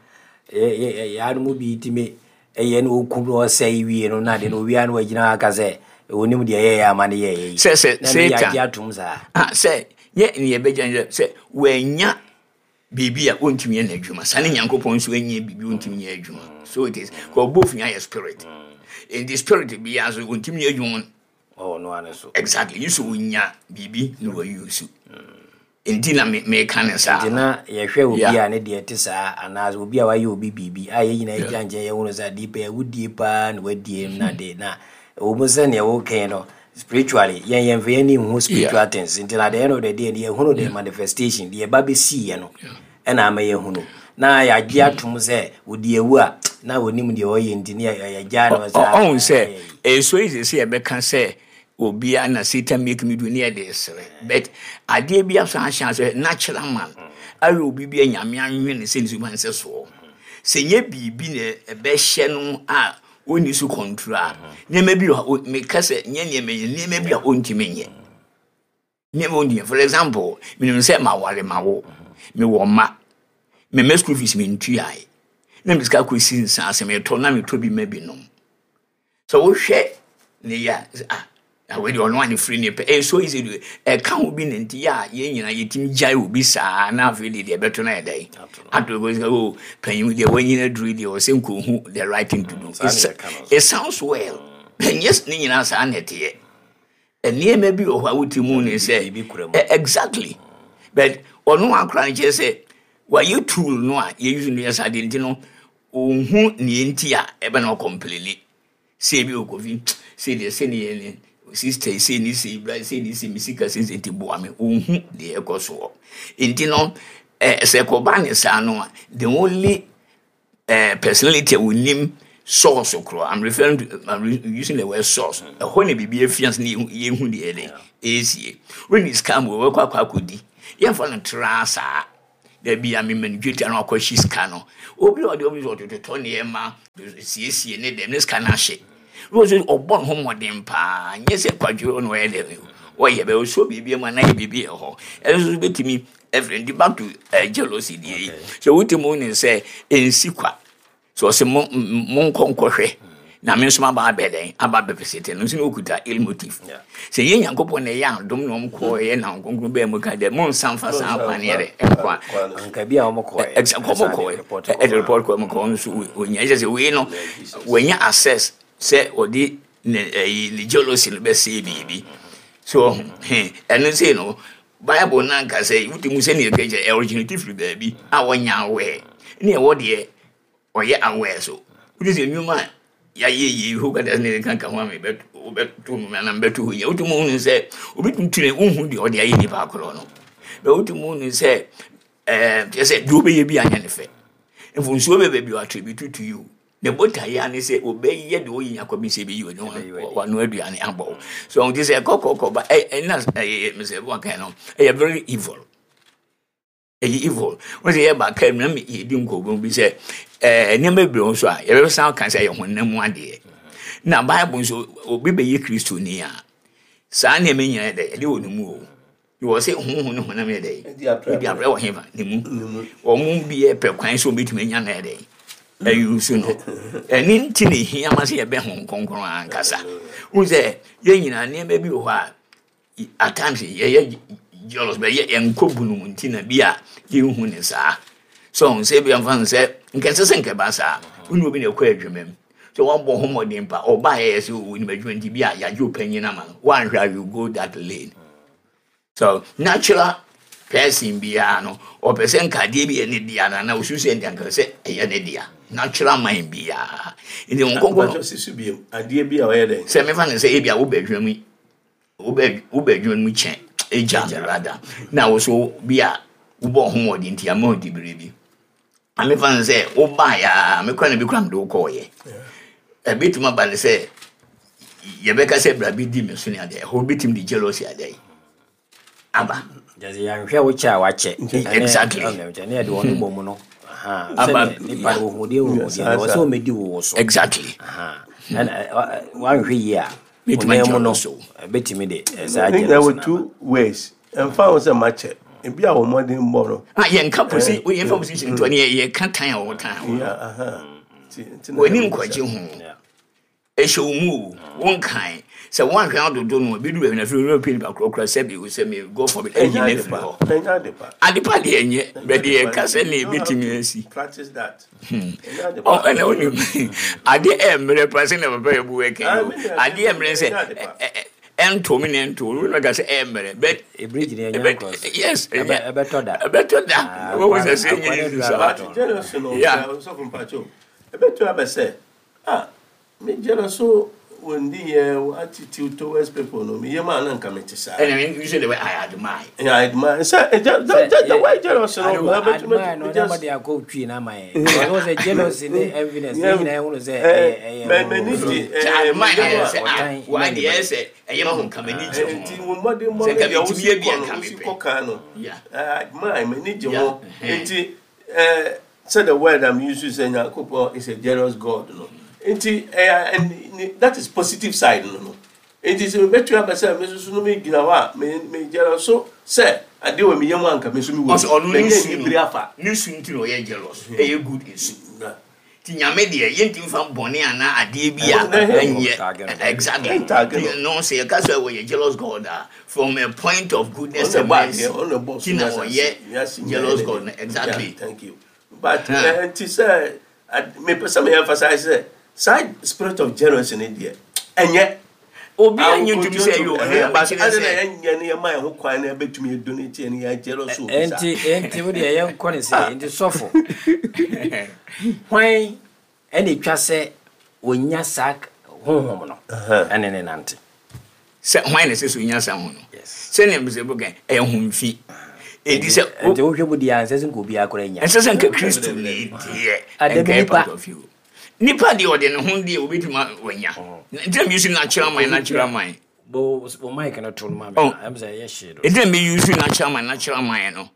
yɛano mu bi tumi ɛyɛ no ɔkum no ɔsɛe wie no na de no owia no wagyina aka sɛ onim deɛ ɛyɛyɛ ama no yɛyɛ yi sɛ sɛ na ne Satan yɛagye atom saa ah sɛ nyɛ ne yɛbɛgya sɛ sɛ wanya biribi a ɔntumi yɛ n'adwuma saa ne nyankopɔn nso anya biribi a ɔntumi nyɛ adwuma so it is kɔ both nyɛ yɛ spirit nti spirit biara nso ɔntumi nyɛ adwuma ɔwɔ no ano so exactly yi so ɔnya biribi na wayi so nti na me meka ne saa nti na yɛhwɛ obi Yeah. a ne deɛ te saa anaasɛ obi a wayɛ obi biribi a yɛn nyinaa gyina nkyɛn yɛhunu sɛ adeɛ pɛ wodie paa na wadie na de na ɛwɔ mu sɛ neɛ wokɛn no spiritually yɛn yɛmfa yɛn ani nhu spiritual things nti na at the end of the day no yɛhunu the manifestation deɛ ɛba bɛsiiɛ no ɛna ama yɛhunu na yɛagye atom sɛ ɔdi awu a na ɔnim deɛ ɔyɛ nti ne yɛ- yɛgyaa no saa ɔhu sɛ ɛyɛ so easy sɛ yɛbɛka sɛ obiara na satan make me do ne yɛde sere but adeɛ bi aso ahyɛ sɛ natural man ayɛ obi bi a nyame anwene sɛ ne suban sɛ soɔ sɛ nyɛ biribi na ɛbɛhyɛ no a ɔnni so control a nneɛma bi wɔ hɔ meka sɛ nyɛ nneɛma yi nneɛma bi a ɔntumi nyɛ nneɛma ɔntumi for example menim sɛ maware ma wo mewɔ mma memmɛ school fees mentuae na me sika kɔsi nsa ase metɔ na metɔ bi ma bi nom sɛ wohwɛ ne yɛ a ah awei deɛ ɔno ane firi ne pɛ ɛyɛ so easy de ɛka ho bi ne nti yɛ a yɛn nyinaa yɛtumi gyae obi saa na afei deɛ deɛ ɛbɛto no yɛ dɛn ato kɔ sɛ o panyin deɛ wanyina duru deɛ ɔsɛ nkɔhu the right thing to do saa na It's- yɛka no so. it sounds well ɛnyɛ ne nyinaa saa na ɛteɛ nneɛma bi wɔ hɔ a wote mu ne sɛ Biribi kura mu. Eh, exactly but ɔno akora no kyerɛ sɛ wayɛ tool no a yɛuse no yɛ saa deɛ nti no ɔnhu neɛ nti a ɛbɛ na ɔcomplain sɛ ebi okofi sɛ deɛ sɛ ne yɛ ne sister sɛ ne sɛ bra sɛ ne sɛ me sika sɛ sɛ nti boa me ɔnhu deɛ ɛkɔ soɔ nti no eh, sɛ kɔba ne saa no a the only uh, personality a wonim source korɔ i'm referring to i'm re- using the word source ɛhɔ na biribi afia so na yɛhu yɛhu deɛ ɛdɛ ɛɛsie when sika mu wɔbɛkɔ akɔ akɔdi yɛmfa no tra saa Dabi a mema no dwetɛ no akɔhye sika no. Obi a ɔde obi sɛ ɔtototɔ nneɛma siesie ne dɛm ne sika no ahye. Wọ́n sɛ ɔbɔ ne ho mmɔden paa, nyɛ sɛ kwadwo na ɔyɛ dɛm, ɔyɛ bɛ ɔsɔ biribi mu anaa yɛ biribi wɔ hɔ. Ɛno nso bɛtumi ɛfiri nti back to uh, jealousy deɛ yi. Sɛ wotumi wo ne sɛ ɛnsi kwa, sɛ ɔsɛ mo monkɔ nkɔhwɛ na me nso maba abɛ dɛn, aba abɛpɛsɛtɛ no nso na ɔkuta ill motive. Sɛ yɛ Nyankopɔn na ɛyɛ adom na ɔm kɔɔ ɛyɛ na Kronkron bɛɛ mu ka dɛ monsa mfa saa kwan yɛ dɛ ɛnkɔ a nka bi a wɔn kɔɛ. Exactly, kɔmɔ kɔɛ, ɛde report kɔɛ mu kɔɔ nso onya ɛkyɛ sɛ wei no wɔnya access sɛ ɔde ne ɛyi ne jealousy no bɛsɛe biribi so ɔho ɛno sɛ no Bible na nka sɛ wotumi sɛ ne yɛka kyɛ originate firi baabi a wɔnya aware ne ɛwɔ deɛ ɔyɛ aware so wote sɛ nnwuma a yɛayɛ yie ho kata ne nka ka ho a wobɛto no anaa mbɛto hɔ yɛ, wotumi hunu sɛ obɛtumi tune wohu deɛ ɔde ayɛ nipa korɔ no bɛ, wotumi hunu sɛ ɛɛ kyerɛ sɛ deɛ wobɛyɛ bi anyɛ ne fɛ, mfonsuo bɛ baabi attribute to you ne botaeɛ ne sɛ wobɛyɛ deɛ woyi nyakɔ bi sɛ ɛbɛyi wano aduane abɔ wo so ɔnte sɛ kɔkɔkɔ ba ɛna ɛyɛ mesɛ wɔka no ɛyɛ very evil, ɛyɛ evil. Wọ́n sɛ yɛba kaa mu na yɛdi nkɔmmɔ bi sɛ ɛɛ nneɛma bebree wɔ so a yɛbɛsan ka sɛ ɛyɛ honam mu adeɛ, na Bible nso obi bɛyɛ Kristoni a saa nneɛma nyinaa yɛ dɛ ɛde wɔ ne mu o, wɔ sɛ honhom ne honam yɛ dɛ ɛdi aprɛ wɔ hefa ne mu. Wɔn mu bi yɛ pɛ kwan sɛ wɔbɛtumi anya no yɛ dɛ ɛyi so no, ɛne nti na ehia ma sɛ yɛbɛ ho Kronkron ankasa. Wɔn sɛ yɛn nyinaa nneɛma bi wɔ hɔ a at times yɛyɛ jealous, bɛ yɛ yɛnkɔ bunu mu nti na bi a yɛnhu ne saa so sɛ bi amfa no sɛ nkɛnsɛ sɛ nkɛba saa wone obi na ɛkɔ adwuma mu sɛ wɔabɔ ho mmɔden pa ɔbaa yɛyɛ sɛ onim adwuma nti bi a yɛagye ɔpanyin ama no, woanhwɛ a you go that lane. So natural person biara no ɔpɛ sɛ nkadeɛ bi yɛ ne dea no anaa osu sɛ nka sɛ ɛyɛ ne dea, natural mind biara nti wɔn kɔkɔ no. Adeɛ bi a ɔyɛ dɛ. Sɛ mefa no sɛ ebi a wobɛ adwuma mu, wobɛ wobɛ adwuma mu kyɛn egya me rada na woso bi a wobɔ ho mmɔden nti ama ɔdi bere bi amefa no sɛ wobaeɛ a mekora na bi kora mede wokɔɔyɛ, ɛbɛtumi aba ne sɛ yɛbɛka sɛ bra bi di me so ne adeɛ ɛhɔ bɛtumi de jealousy adeɛ aba. Gyesɛ yɛanhwɛ wo kyɛ a wakyɛ. Exactly. Ne yɛde wɔn bɔ mu no Aba. Nipa no ohudeɛ ohudeɛ wɔ sɛ ɔmɛdi wo wo so. Exactly. Wanhwɛ yie a bɛtumi honam mu no agyɛ so. Bɛtumi de saa ne nyinaa jealousy wɔ no two ways, ɛmfa ho sɛ makyɛ ebi a wɔn mmɔden bɔ no. Ah, yɛnka posi yɛmfa position ntoa ne yɛ- yɛka tan a wɔtan wɔ. Yeah, aha. Nti- nti na W'ani ɛyɛ nkɔgye ho. Yeah. Ɛhyɛ wo mu o, wonkan sɛ woanhwɛ adodo no ebi du baabi na afei wura pii nipa korɔkorɔ sɛ bi sɛ me God forbid ɛyi Ɛnyɛ na ade afiri pa. hɔ. Ɛnyɛ ade pa. Adepa deɛ ɛnyɛ bɛde yɛka sɛ ne ebɛtumi asi. Practice that. Ɛnyɛ ade Ɔ pa. ɛna wonim adeɛ ɛmmerɛ pa sɛ na papa yɛ bu ɛkɛn Ah, o me deɛ, adeɛ ɛmmerɛ sɛ ɛnyɛ ade pa. ɛ- ɛ- ɛnto me na ɛnto wo na ka sɛ ɛmmerɛ but Ebiri gyina ɛnya ɛbɛ- nkɔ so. Yes. Ɛbɛ- ɛbɛtɔ da. Ɛbɛtɔ da. Ah, wɔwɔ sɛ akwa- sɛ akwa nyɛ ne duru saa. abɛtɔ. But jealous no, Yeah. ɔsɔfo mpacho, ɛbɛtɔ abɛ sɛ, ah, me jealous so wɔn di yɛ attitude towards people no, me yɛ maa na nka me te saa. Ɛna me usually the way I admire. Yeah, I admire. Sɛ, eh, the, the, the way jealous no, ɛbɛtumi admire no me ɔnyɛ just de akɔ twi na ama yɛ ɔno sɛ jealousy ne enviness ne nyinaa ehunu sɛ ɛyɛ ɛyɛ mɛ mɛ ni di Sɛ admire na yɛ sɛ ah ɔtan wɔadeɛ yɛ sɛ ɛyɛ ma ho nka m'ani gye nti ho. wɔn mmɔden mmɔ Sɛ nka deɛ metumi wosi yɛ bi a kɔ no nka wosi mepɛ. kɔ kan no. Yeah. I admire, m'ani gye Yeah. ho nti ɛɛ sɛ the word I'm using sɛ Nyankopɔn is a jealous God no nti ɛyɛ ɛn that is positive side no no nti sɛ mebɛtu aba sɛ me soso no me gyina hɔ a me me jealous so sɛ adeɛ wɔ me yam a nka me nso me wɔ Ɔsɛ ɔno ne mɛnyɛ su nibiri no afa. Ne su nti na ɔyɛ jealous, ɛyɛ good nsu. Na. Nti Nyame deɛ yɛntumi fa bɔne anaa adeɛ bi a Ɛnyɛ. ɛnyɛ exactly. Ɛntaage no. Nti no sɛ yɛka sɛ wɔyɛ jealous God a, from a point of goodness ɔno and bɔ adeɛ mercy ɔno bɔ nti na ɔyɛ jealous God no, exactly. Yeah, thank you, but Huh. eh, nti sɛ ad- mepɛ sɛ me emphasize sɛ saa spirit of jealousy ne deɛ ɛnyɛ Obi a nye ntumi sɛ ɛyɛ Ɛhɛ, ɔno but kyerɛ ade na sɛ yɛnyɛ no yɛma yɛn ho kwan na yɛbɛtumi adonate ne yɛ jealous obi saa. Nti nti wo deɛ yɛnkɔ ne sɛ nti sɔfo hwan ɛna etwa sɛ onya saa honhom no ɛne ne nante? Sɛ hwan na ɛsɛ sɛ onya sa ho no? Yes. Sɛnea mbisɛ bɛka ɛyɛ homfi ɛdi sɛ nti wohwɛ mu deɛ ansɛ sɛ nka obiara koraa nya. Ɛnsɛ sɛ nka Kristo ne deɛ Adabi ɛnka ɛyɛ nipa. part of you nipa deɛ ɔde ne ho deɛ obɛtumi wanya nti na mi natural mind natural mind bo bo mic no to no ma me. Oh. Ɛm sɛ ɛyɛ hye do. Nti na mi use natural mind natural mind no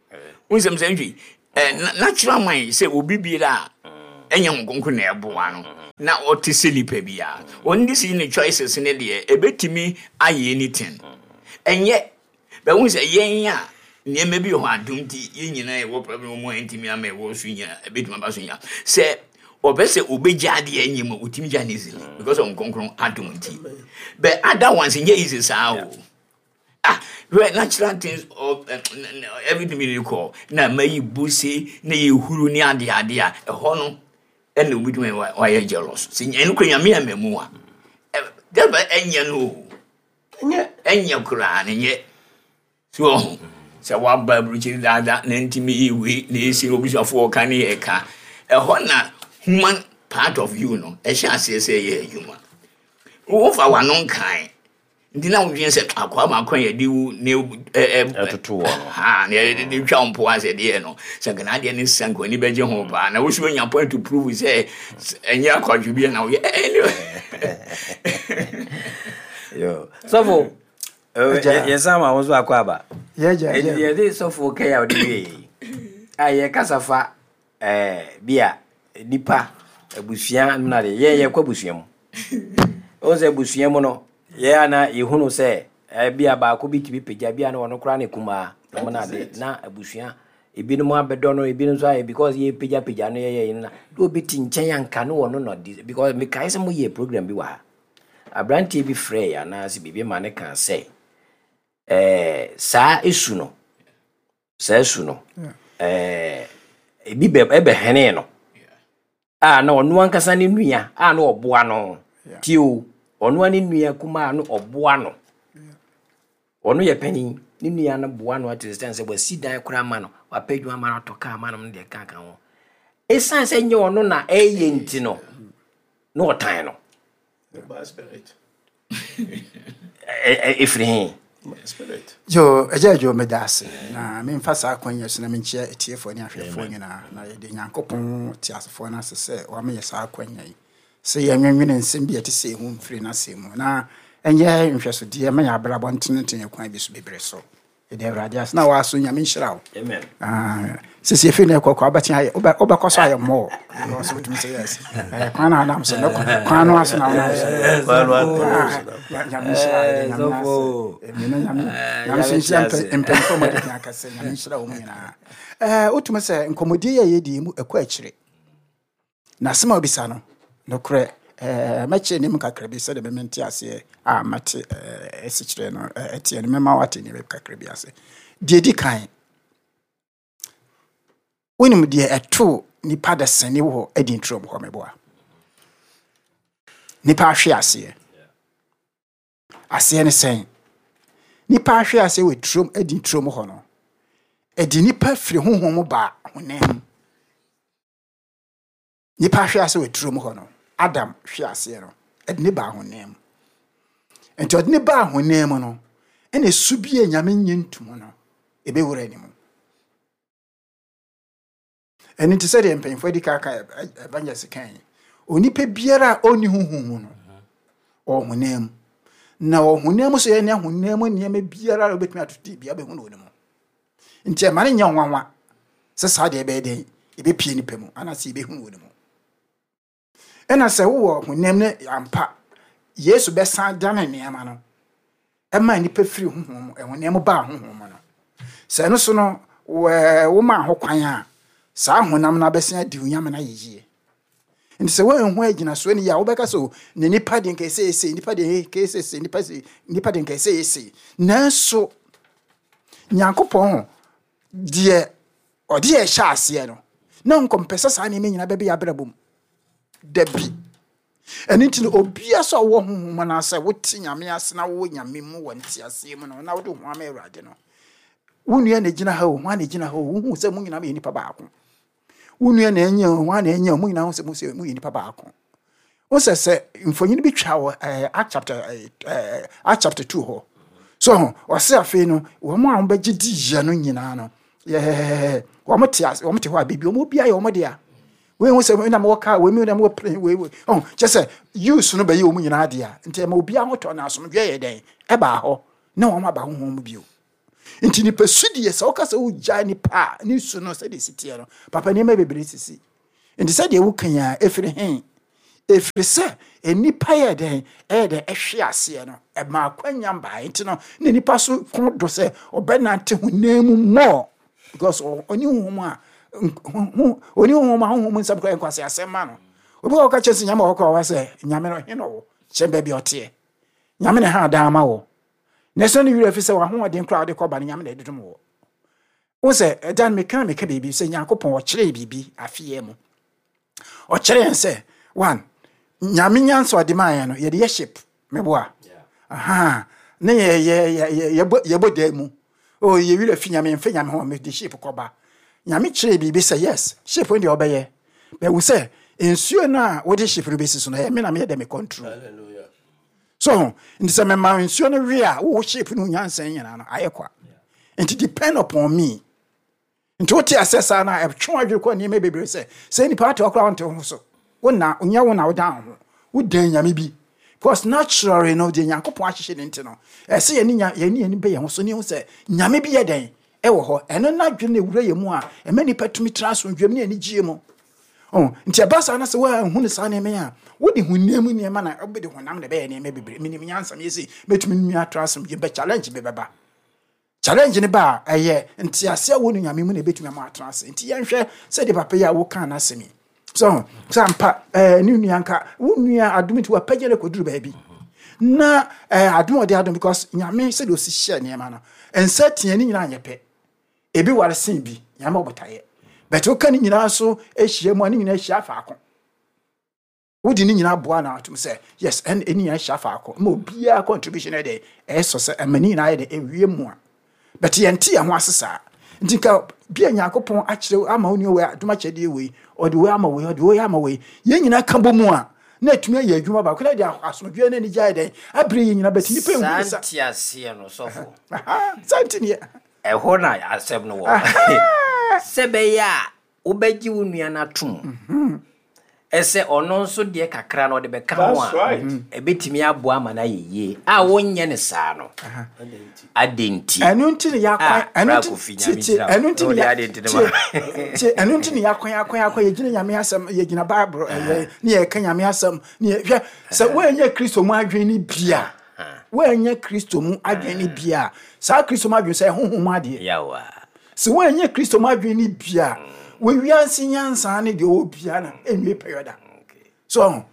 wo nsɛm sɛ ntwi Eh, na- natural mind sɛ obi biara a ɛnyɛ ho nkonko na ɛboa no na ɔte sɛ nipa biara, ɔno de si ne choices ne deɛ ɛbɛtumi ayɛ anything. Ɛnyɛ bɛhu sɛ yɛn a nneɛma bi wɔ hɔ adom nti yɛn nyinaa yɛwɔ problem mu a ɛntumi ama ɛwɔ so nyinaa ɛbɛtumi aba so nyinaa sɛ ɔpɛ sɛ obɛgya adeɛ ɛnyɛ mu a, ɔtumi gya no easily because of Nkronkron adom nti. But other ones nyɛ easy saa o. Ah, hwɛ, natural things of uh, everything bi rekɔ na mayi buse na yɛhuru ne ade ade a ɛhɔ no ɛna obi tumi wayɛ jealous sɛ ɛno kora Nyame ama mu a ɛ- dɛbɛ ɛnyɛ no o. Ɛnyɛ. Ɛnyɛ koraa ne nyɛ so ɔho sɛ woaba aburokyiri daadaa na ntumi yɛ wei na ɛsi obusuafoɔ ɔka ne yɛ ka ɛhɔ na human part of you no ɛhyɛ aseɛ sɛ ɛyɛ adwuma. Wofa w'ano nkan nti na wodwene sɛ akoa baako a yɛde wo ne ɛ- ɛ- Ɛtoto wɔ no. Ha na yɛde de twa wo mpo asɛ deɛ no sɛ nka n'adeɛ ne sa nka w'ani bɛgye ho paa na woso anya point to prove sɛ s- ɛnyɛ akwadwo bi na woyɛ. Yo, sɔfo, Agya. yɛsan ma wo so akɔ aba. Yɛgya. Ɛnti yɛde sɔfo kɛyɛ a wode wie yi a yɛkasa fa ɛɛ, bi a nipa abusua no na de yɛn yɛkɔ abusua mu, wohu sɛ abusua mu no yɛn ana yɛhunu sɛ ɛɛ, bi a baako bi tumi pagya bi a na ɔno koraa ne kumaa na ɔmo na ade na abusua ebinom abɛdɔ no, ebinom nso ayɛ because yɛpagyapagya no yɛyɛ yi no na na obi te nkyɛn anka ne wɔno na ɔde because mekae sɛ moyɛ program bi wɔ ha, aberanteɛ bi frɛ yɛ anaasɛ biribi ma ne kaa sɛ ɛɛ, saa esu no saa esu no ɛɛ, ebi bɛ ɛbɛhɛnee no a na ɔno ankasa ne nua a na ɔboa no. Tie o, ɔno a ne nua kumaa no ɔboa no, ɔno yɛ panin, ne nua no boa no ate sɛ sɛ wasi dan koraa ma no, wapɛ adwuma ma no, atɔ kaa ma no no deɛ ka ka ho. Ɛsiane sɛ nyɛ ɔno na ɛyɛ nti no na ɔtan no. Bad spirit. Ɛ- ɛ- ɛfiri he? Bad spirit. Yo, agya adwo, meda ase na memfa saa akwanya so na menkyia atiefoɔ ne ahwɛfoɔ nyinaa na yɛde Nyankopɔn te asefoɔ no ase sɛ wama yɛ saa akwanya yi sɛ yɛnwenwene nsɛm bi a ɛte sɛ ɛhu mfiri no asɛm mu na ɛnyɛ nhwɛsodeɛ ma yɛ abrabɔ ntenetene kwan bi so bebree so. Yɛde Awurade ase na waaso Nyame nhyira wo. Amen. Ah, sisi efi na ɛkɔ kɔ wobɛtumi ayɛ wobɛ- wobɛkɔ so ayɛ mmɔɔ because wotumi sɛ yes. Eh, kwan no anam so no kwan no aso na wonam so. Kwan no ato Ah, so na. Ya- Nyame nhyira wo, yɛde Nyame ase. Sɔfo. Amen, na Nyame Eh, Nyame nso Nyame nhyira te ase. mpɛ- mpanyimfoɔ ma wɔde akasɛ Nyame nhyira wɔn nyinaa. Eh, wotumi sɛ nkɔmmɔdie yi a yɛdi yi mu ɛkɔ akyire na asɛm a wobisa no nokorɛ eh, mɛkyerɛ nneɛma kakra bi sɛdeɛ bɛmente aseɛ a mate eh, asikyerɛ no eh, ɛteɛ no mɛma woate nneɛma kakra bi ase. Deɛ di kan, wonim deɛ ɛtoo nipa dasani wɔ adi nturom hɔ, meboa nipa ahwe aseɛ aseɛ ne sɛn? Nipa ahwe aseɛ wɔ turom adi nturom hɔ no, ɛde nipa firi honhom mu baa honam mu. Nipa ahwe ase wɔ turom hɔ no, Adam hwe aseɛ no, ɛde ne baa honam mu. Nti ɔde ne baa honam mu no ɛna esu bi a Nyame nye ntom no ɛbɛwura ne mu. Ɛno nti sɛdeɛ mpanyimfoɔ adi ka ka evangelist kan yi, onipa biara a ɔnni honhom mu no ɔwɔ honam mu na ɔwɔ honam mu so yɛ ne honam mu nneɛma biara a wobɛtumi atoto bia bɛhu no wɔ ne mu. Nti ɛma no nyɛ nwanwa sɛ saa deɛ ɛbɛyɛ dɛn ɛbɛpie nipa mu anaasɛ yɛbɛhu no wɔ ne mu. Ɛna sɛ wowɔ honam no ampa, Yesu bɛsan dane nneɛma no ɛma nipa firi honhom mu ɛhonam mu baa honhom mu no, sɛ ɛno so no wɔ woma ho kwan a saa honam no abɛsen adi Onyame no ayɛ yie. Nti sɛ woanhu agyinasoɔ no yie a, wobɛka sɛ o ne nipa deɛ nka ɛsɛ ɛsɛ nipa deɛ nka ɛsɛ ɛsɛ nipa sɛ nipa deɛ nka ɛsɛ ɛsɛ. Nanso Nyankopɔn ho deɛ ɔde yɛ hyɛ aseɛ no na nkɔmpɛ sɛ saa nneɛma nyinaa bɛbɛ yɛ abrabɔ mu dabi. Ɛno nti no obia sɛ ɔwɔ honhom mu anaasɛ wote Nyame ase na wowɔ Nyame mu wɔ nteaseɛ mu no na wode wo ho ama Awurade no, wo nua na gyina ha o, ho na gyina ha o, wohu sɛ mo nyinaa moyɛ nipa baako. Wo nua na ɛnyɛ o, ho na ɛnyɛ o, mo nyinaa hu sɛ mo sɛ moyɛ nipa baako. Wo sɛ sɛ mfonyin bi twa wɔ ɛɛ Act chapter ɛɛ ɛɛ Act chapter two hɔ so ho, ɔse afei no wɔn a wɔbɛgye di yɛ no nyinaa no yɛɛ wɔn te ase, wɔn te hɔ a beebi wɔn obi ayɛ wɔn dea. Wei ho sɛ na mewɔ kaa wei mi na mewɔ plane wei wei ɔn kyɛ sɛ use no bɛyɛ wɔn nyinaa dea. Nti ɛma obiara ho tɔ na asomdwe yɛ dɛn ɛbaa hɔ na wɔn aba honhom mu bio. Nti nipa su deɛ, sɛ woka sɛ wogyae nipa a ne su no sɛdeɛ si teɛ no, papa, nneɛma bebree sisi. Nti sɛdeɛ woka yi a, ɛfiri he? Ɛfiri sɛ nnipa yɛ dɛn, ɛyɛ dɛn ɛhwe aseɛ no, ɛma akwanya mbaeɛ. Nti no na nipa so ko do sɛ ɔbɛnante honam mu more, because ɔne honhom a ɔne honhom a honhom nsɛm koraa nkwase asɛm ma no. Obi wɔ ɔka kyerɛ sɛ Nyame wɔ hɔ koraa, ɔwɔ sɛ Nyame no he na ɔwɔ kyɛn baabi a ɔteɛ. Nyame na ha dan ama wɔ na ɛsɛ no werɛ fi sɛ wahoɔden koraa wode kɔba no, Nyame na ɛde dom wɔ wo. Sɛ ɛda no meka meka biribi sɛ Nyankopɔn ɔkyerɛɛ biribi afeɛ mu, ɔkyerɛ yɛn sɛ one, Nyame nyansa ɔde maa yɛn no, yɛde yɛ ship, meboa aha ne yɛ yɛ yɛ yɛbɔ yɛbɔ dan mu o, yɛ werɛ fi Nyame, mfe Nyame ho, mede ship kɔba. Nyame kyerɛ biribi sɛ yes, ship no deɛ ɔbɛyɛ bɛwu sɛ nsuo no a wode ship no bɛsi so no, ɛyɛ me na meyɛ dɛ me control. Hallelujah. So nti sɛ mema nsuo no we a, wowɔ ship no nyansa nyinaa no ayɛ kwa. Nti depend upon me. Nti wote asɛ saa no a, ɛtwe adwene kɔ nneɛma bebree sɛ sɛ nipa ate ɔkora, wonte wo ho so, wona nyɛ wo na wodan wo ho, wodan Nyame bi, because naturally no, deɛ Nyankopɔn ahyehyɛ ne nti no, ɛsɛ yɛne nya yɛne yɛne bɛ yɛn ho so ne ho sɛ Nyame bi yɛ dɛn ɛwɔ hɔ. Ɛno n'adwene na ewura yɛn mu a ɛma nipa tumi tena asomdwem ne anigyeɛ mu. Oh, nti ɛba saa na sɛ woanhu no saa nneɛma yi a, wode honam mu nneɛma na wobɛde honam na ɛbɛyɛ nneɛma bebree. Menim nyansa, meyɛ sei, mɛtumi nua atra asomdwem bɛ challenge bi bɛba. Challenge ne ba a, ɛyɛ ntease a wɔ no Nyame mu na ɛbɛtumi ama atena ase. Nti yɛnhwɛ sɛdeɛ papa yi a woka n'asɛm yi so sɛ ampa ɛɛ ne nua nka wo nua adom, nti wapagya no kɔduru baabi na ɛɛ adom a ɔde adom, because Nyame sɛdeɛ ɔsi hyɛ nneɛma no, nsa tea ne nyinaa nyɛ pɛ, ebi ware sen bi. Nyame ɔbotaeɛ bɛtɛ woka ne nyinaa so ahyia mu a, ne nyinaa ahyia faako, wode ne nyinaa boa na atom sɛ yes, ɛne ɛne nyinaa hyia faako ma obiara contribution yɛ dɛ ɛyɛ sɔ sɛ ɛma ne nyinaa yɛ dɛ ɛwie mu a. Bɛte yɛnte yɛn ho ase saa. Nti nka bia Nyankopɔn akyerɛ ama wo nua wei adom akyɛdeɛ wei, ɔde wei ama wei, ɔde wei ama wei, yɛn nyinaa ka bɔ mu a, na atumi ayɛ adwuma baako na de asomdwoeɛ ne anigye ayɛ dɛn abere yɛn nyinaa. Bɛte nipa ehu saa ne sa nteaseɛ no, sɔfo, Aha, saa nti neɛ ɛhɔ na asɛm no wɔ sɛ bɛyɛ a wobɛgye wo nua no atom ɛsɛ ɔno nso deɛ kakra no ɔde bɛka ho That's a right. ɛbɛtumi aboa ama no ayɛ yie a wonyɛ ne saa no adɛn nti? Ɛno nti ne yɛakwan Ah, ɛno Bra nti Kofi, tie Nyame tie nhyira wo. Ɛno nti ne Wode yɛ ade nti ne tie ma. tie, ɛno nti ne yɛakwan akwan akwan, yɛgyina Nyame asɛm, yɛgyina Bible ɛyɛ ne yɛka Nyame asɛm ne yɛ hwɛ sɛ woanyɛ Kristo mu adwene ne bia, woanyɛ Kristo mu adwene ne bia, saa Kristo mu adwene sɛ ɛhohom mu adeɛ. Yawa. Sɛ woanyɛ Kristo mu adwene ne bia, wɔwiase nyansa ne deɛ ɔwɔ bia no ɛnwie pɛyɛ da so.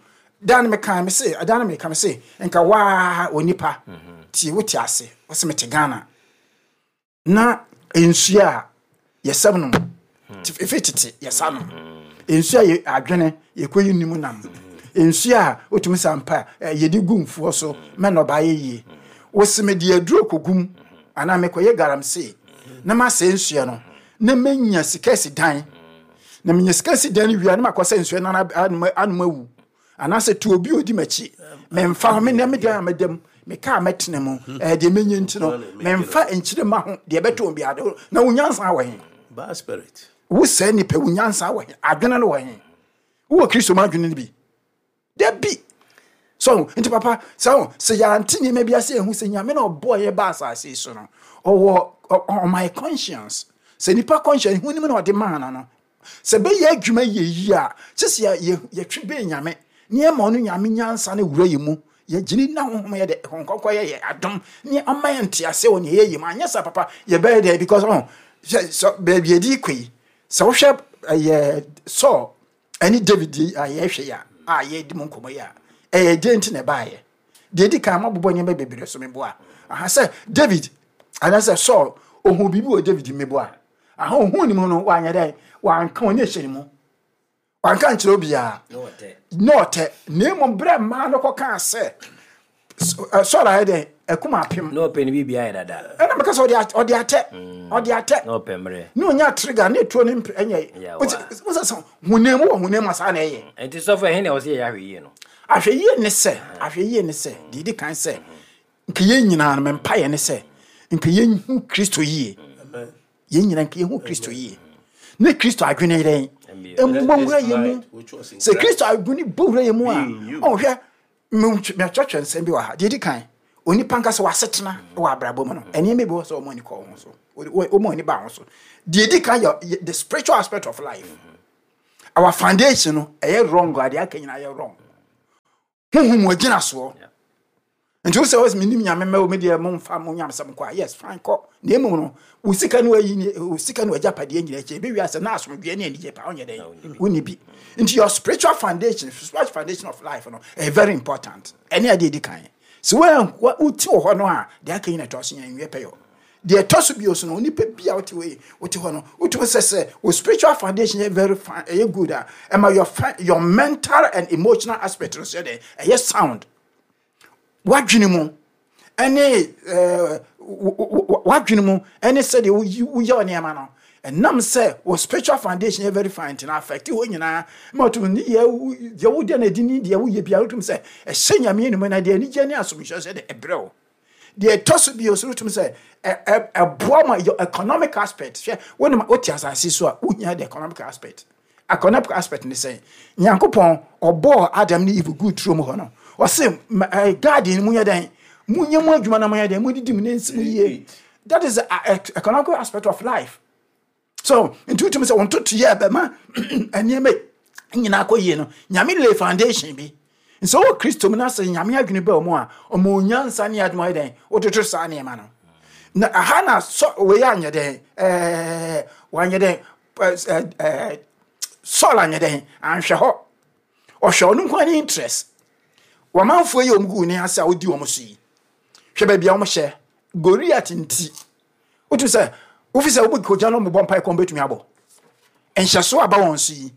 Dan meka me se dan meka me se nka waa onipa tie, wote ase, wɔsɛ mete Ghana na nsuo a yɛsɛm no efi tete yɛsa no nsuo a yɛ adwene yɛkɔyi nim nam nsuo a wotumi sa mpa ɛ, yɛde gu mfuo so mɛ nnɔbaeɛ yie, wosi me de aduro kɔgum anaa mekɔyɛ galamsey na masɛe nsuo no na menya sika si dan, na menya sika si dan no wie a, na makɔ sɛ nsuo no anom anom awu anaasɛ tu obi a odi m'akyi memfa ho me nea me dan a meda mu, me kaa mɛtena mu, ɛɛ deɛ menya nti no memfa nkyerɛ ma ho deɛ ɛbɛtɔ obi ade na wo nyansa wɔ he? Bad spirit. Wo sɛ nipa, wo nyansa wɔ he? Adwene no wɔ he? Wowɔ Kristo mu adwene no bi dabi so? Nti papa, sɛ sɛ yɛante nneɛma bi ase, ehu sɛ Nyame na ɔbɔɔ yɛ ba asase yi so no, ɔwɔ ɔma conscience sɛ nipa conscience hu nim na ɔde maa no no sɛ bɛyɛ adwuma yɛ yie a, kyɛ sɛ yɛtwe bɛn Nyame nneɛma, ɔno Nyame nyansa no wura yɛ mu, yɛgyini na Honhom yɛ dɛ Honhom yɛ yɛ adom ne ɔma yɛ ntease wɔ nea yɛyɛ mu. Anyɛ sa papa, yɛbɛyɛ dɛ because ɔn sɛ baabi yɛde kɔ yi, sɛ wohwɛ ɛyɛ Saul ɛne David yi a yɛhwɛ yi a a yɛdi mu nkɔmmɔ yi a, ɛyɛ deɛ nti na ɛbaayɛ deɛ di kan mabobɔ nneɛma bebree so meboa aha sɛ David anaasɛ Saul ohun biribi wɔ David meboa aha, ohun ne mu no, wanyɛ dɛ wanka wɔn ahyɛ ne mu, wanka nkyerɛ obiara na ɔtɛ, na mmom berɛ mmaa no kɔkaa sɛ Saul ayɛ dɛ ɛkum apem. Na ɔpɛ ne biribi ayɛ dada. Ɛna meka sɛ ɔde atɛ, ɔde atɛ. Na ɔpɛ mmerɛ. Ne onya trigger ne etuo ne mpɛ ɛnyɛ wosɛ sɛ honam mu wɔ honam mu saa na ɛyɛ. Nti sɔfo, ɛhe na ɛwɔ sɛ yɛyɛ ahwɛ yie no? Ahwɛ yie ne sɛ, ahwɛ yie ne sɛ deɛ edi kan sɛ nka yɛn nyinaa no, mpa yɛ ne sɛ nka yɛn hu Kristo yie, yɛn nyinaa nka yɛn hu Kristo yie ne Kristo adwene yɛn mmɔ wura yɛn mu. Sɛ Kristo adwene bɔ wura yɛn mu a, ɔhwɛ mɛtwɛtwɛ nsɛm bi wɔ ha. Deɛ edi kan, Onipa nkasa wasetena wɔ abrabɔ mu no, ɛnneɛma bi wɔ sɛ ɔmo ani kɔ ho so, ɔmo ani ba ho so. Deɛ edi kan yɛ the spiritual aspect of life. Our foundation no ɛyɛ wrong, adeɛ aka nyinaa yɛ wrong. Huhum wɔ gyina soɔ. Nti wo sɛ wɔsɛ menim Nyame mma wo me deɛ, momfa mo nyamsɛm kɔ a, yes, fine, kɔ. Na mmom no, wo sika no ayi ne wo sika no agyapadeɛ nyina akyi, ɛbɛwie asɛ na asomdwoeɛ ne anigye pa wonyɛ dɛn? Wonni bi. Nti your spiritual foundation, spiritual foundation of life no ɛyɛ very important. Ɛne adeɛ di kan sɛ wote wɔ hɔ no a, deɛ aka nyina ɛtɔ so nyɛ nwie pɛyɔ. Deɛ ɛtɔ so bio so no, onipa bi a wote wɔ wote hɔ no, wotumi sɛ sɛ wo spiritual foundation yɛ very fine, ɛyɛ good a, ɛma your your mental and emotional aspect no so yɛ dɛ ɛyɛ sound. Wadwene mu ɛne ɛɛ wadwene mu ɛne sɛdeɛ woyɛ nneɛma no, ɛnam sɛ wɔ spiritual foundation yɛ very fine, nti na affect hɔ nyinaa ma ɔtum ne yɛ deɛ wode na adi ne deɛ woyɛ biara, wotum sɛ ɛhyɛ Nyame anim na deɛ anigye ne asomdwoeɛ sɛ de ɛbrɛ wo. Deɛ ɛtɔ so bio so, wotum sɛ ɛboa ma your economic aspect. Hwɛ, wonim wote asase so a, wohia the economic aspect. Economic aspect ne sɛn? Nyankopɔn ɔbɔɔ Adam ne Eve gu turo mu hɔ no, ɔse garden mu yɛ dɛn? Munyɛ mu adwuma na moyɛ dɛn? Modidi mu ne nsi mu yie. That is the economic aspect of life. So nti wotumi sɛ wɔn toto yɛ bɛma nneɛma nyinaa kɔ yie no, Nyame lay foundation bi nso wɔ Kristo mu na sɛ Nyame adwene bɛ mu a, ɔmo nyansa ne adwuma yɛ dɛn? Wototo saa nneɛma no na aha na sɔ wei anyɛ dɛn? ɛɛ wanyɛ dɛn? ɛɛ ɛɛ Saul anyɛ dɛn? Anhwɛ hɔ. Ɔhwɛ ɔno nko ne interest. Wɔmanfoɔ yi a wɔn gu ne ase a wodi wɔn so yi, hwɛ baabi a wɔn hyɛ Goliath. Nti wotu sɛ wofi sɛ wobɛ kogya no, mobɔ mpae kɔn bɛtumi abɔ nhyɛso aba wɔn so yi,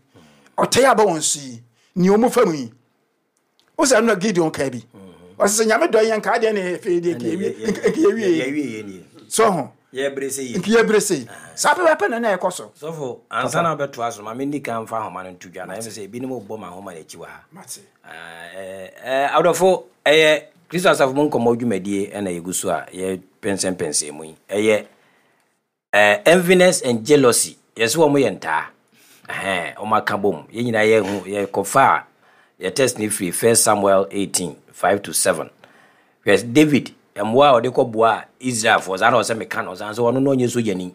ɔtɛe aba wɔn so yi, nea wɔn fa mu yi, wo sɛ ɛno na Gideon kaa bi, ɔsɛ sɛ Nyame dɔ yɛn nka adeɛ ne afei deɛ nka yɛwie so ho nka yɛbere sei saa pɛpɛpɛ na na ɛkɔ so. Sɔfo, ansa na wobɛtoa so, ma menni ka mfa ahoma no nto dwa na ɛmɛ sɛ ebinom bɔ ma ahoma no akyi wɔ ha. Adɔfo, ɛyɛ Kristo Asafo mu nkɔmmɔ dwumadie ɛna yɛgu so a yɛpɛnsɛmpɛnsɛn mu yi. Ɛyɛ enviness and jealousy. Yɛsɛ wɔn yɛ ntaa wɔn aka bom. Yɛn nyinaa yɛhu yɛkɔfa a yɛ text ne firi First Samuel eighteen five to seven. Hwɛ David mmoa a ɔde kɔboa Israelfoɔ saa na ɔsɛ meka no san sɛ ɔno no ɔnyɛ sogyani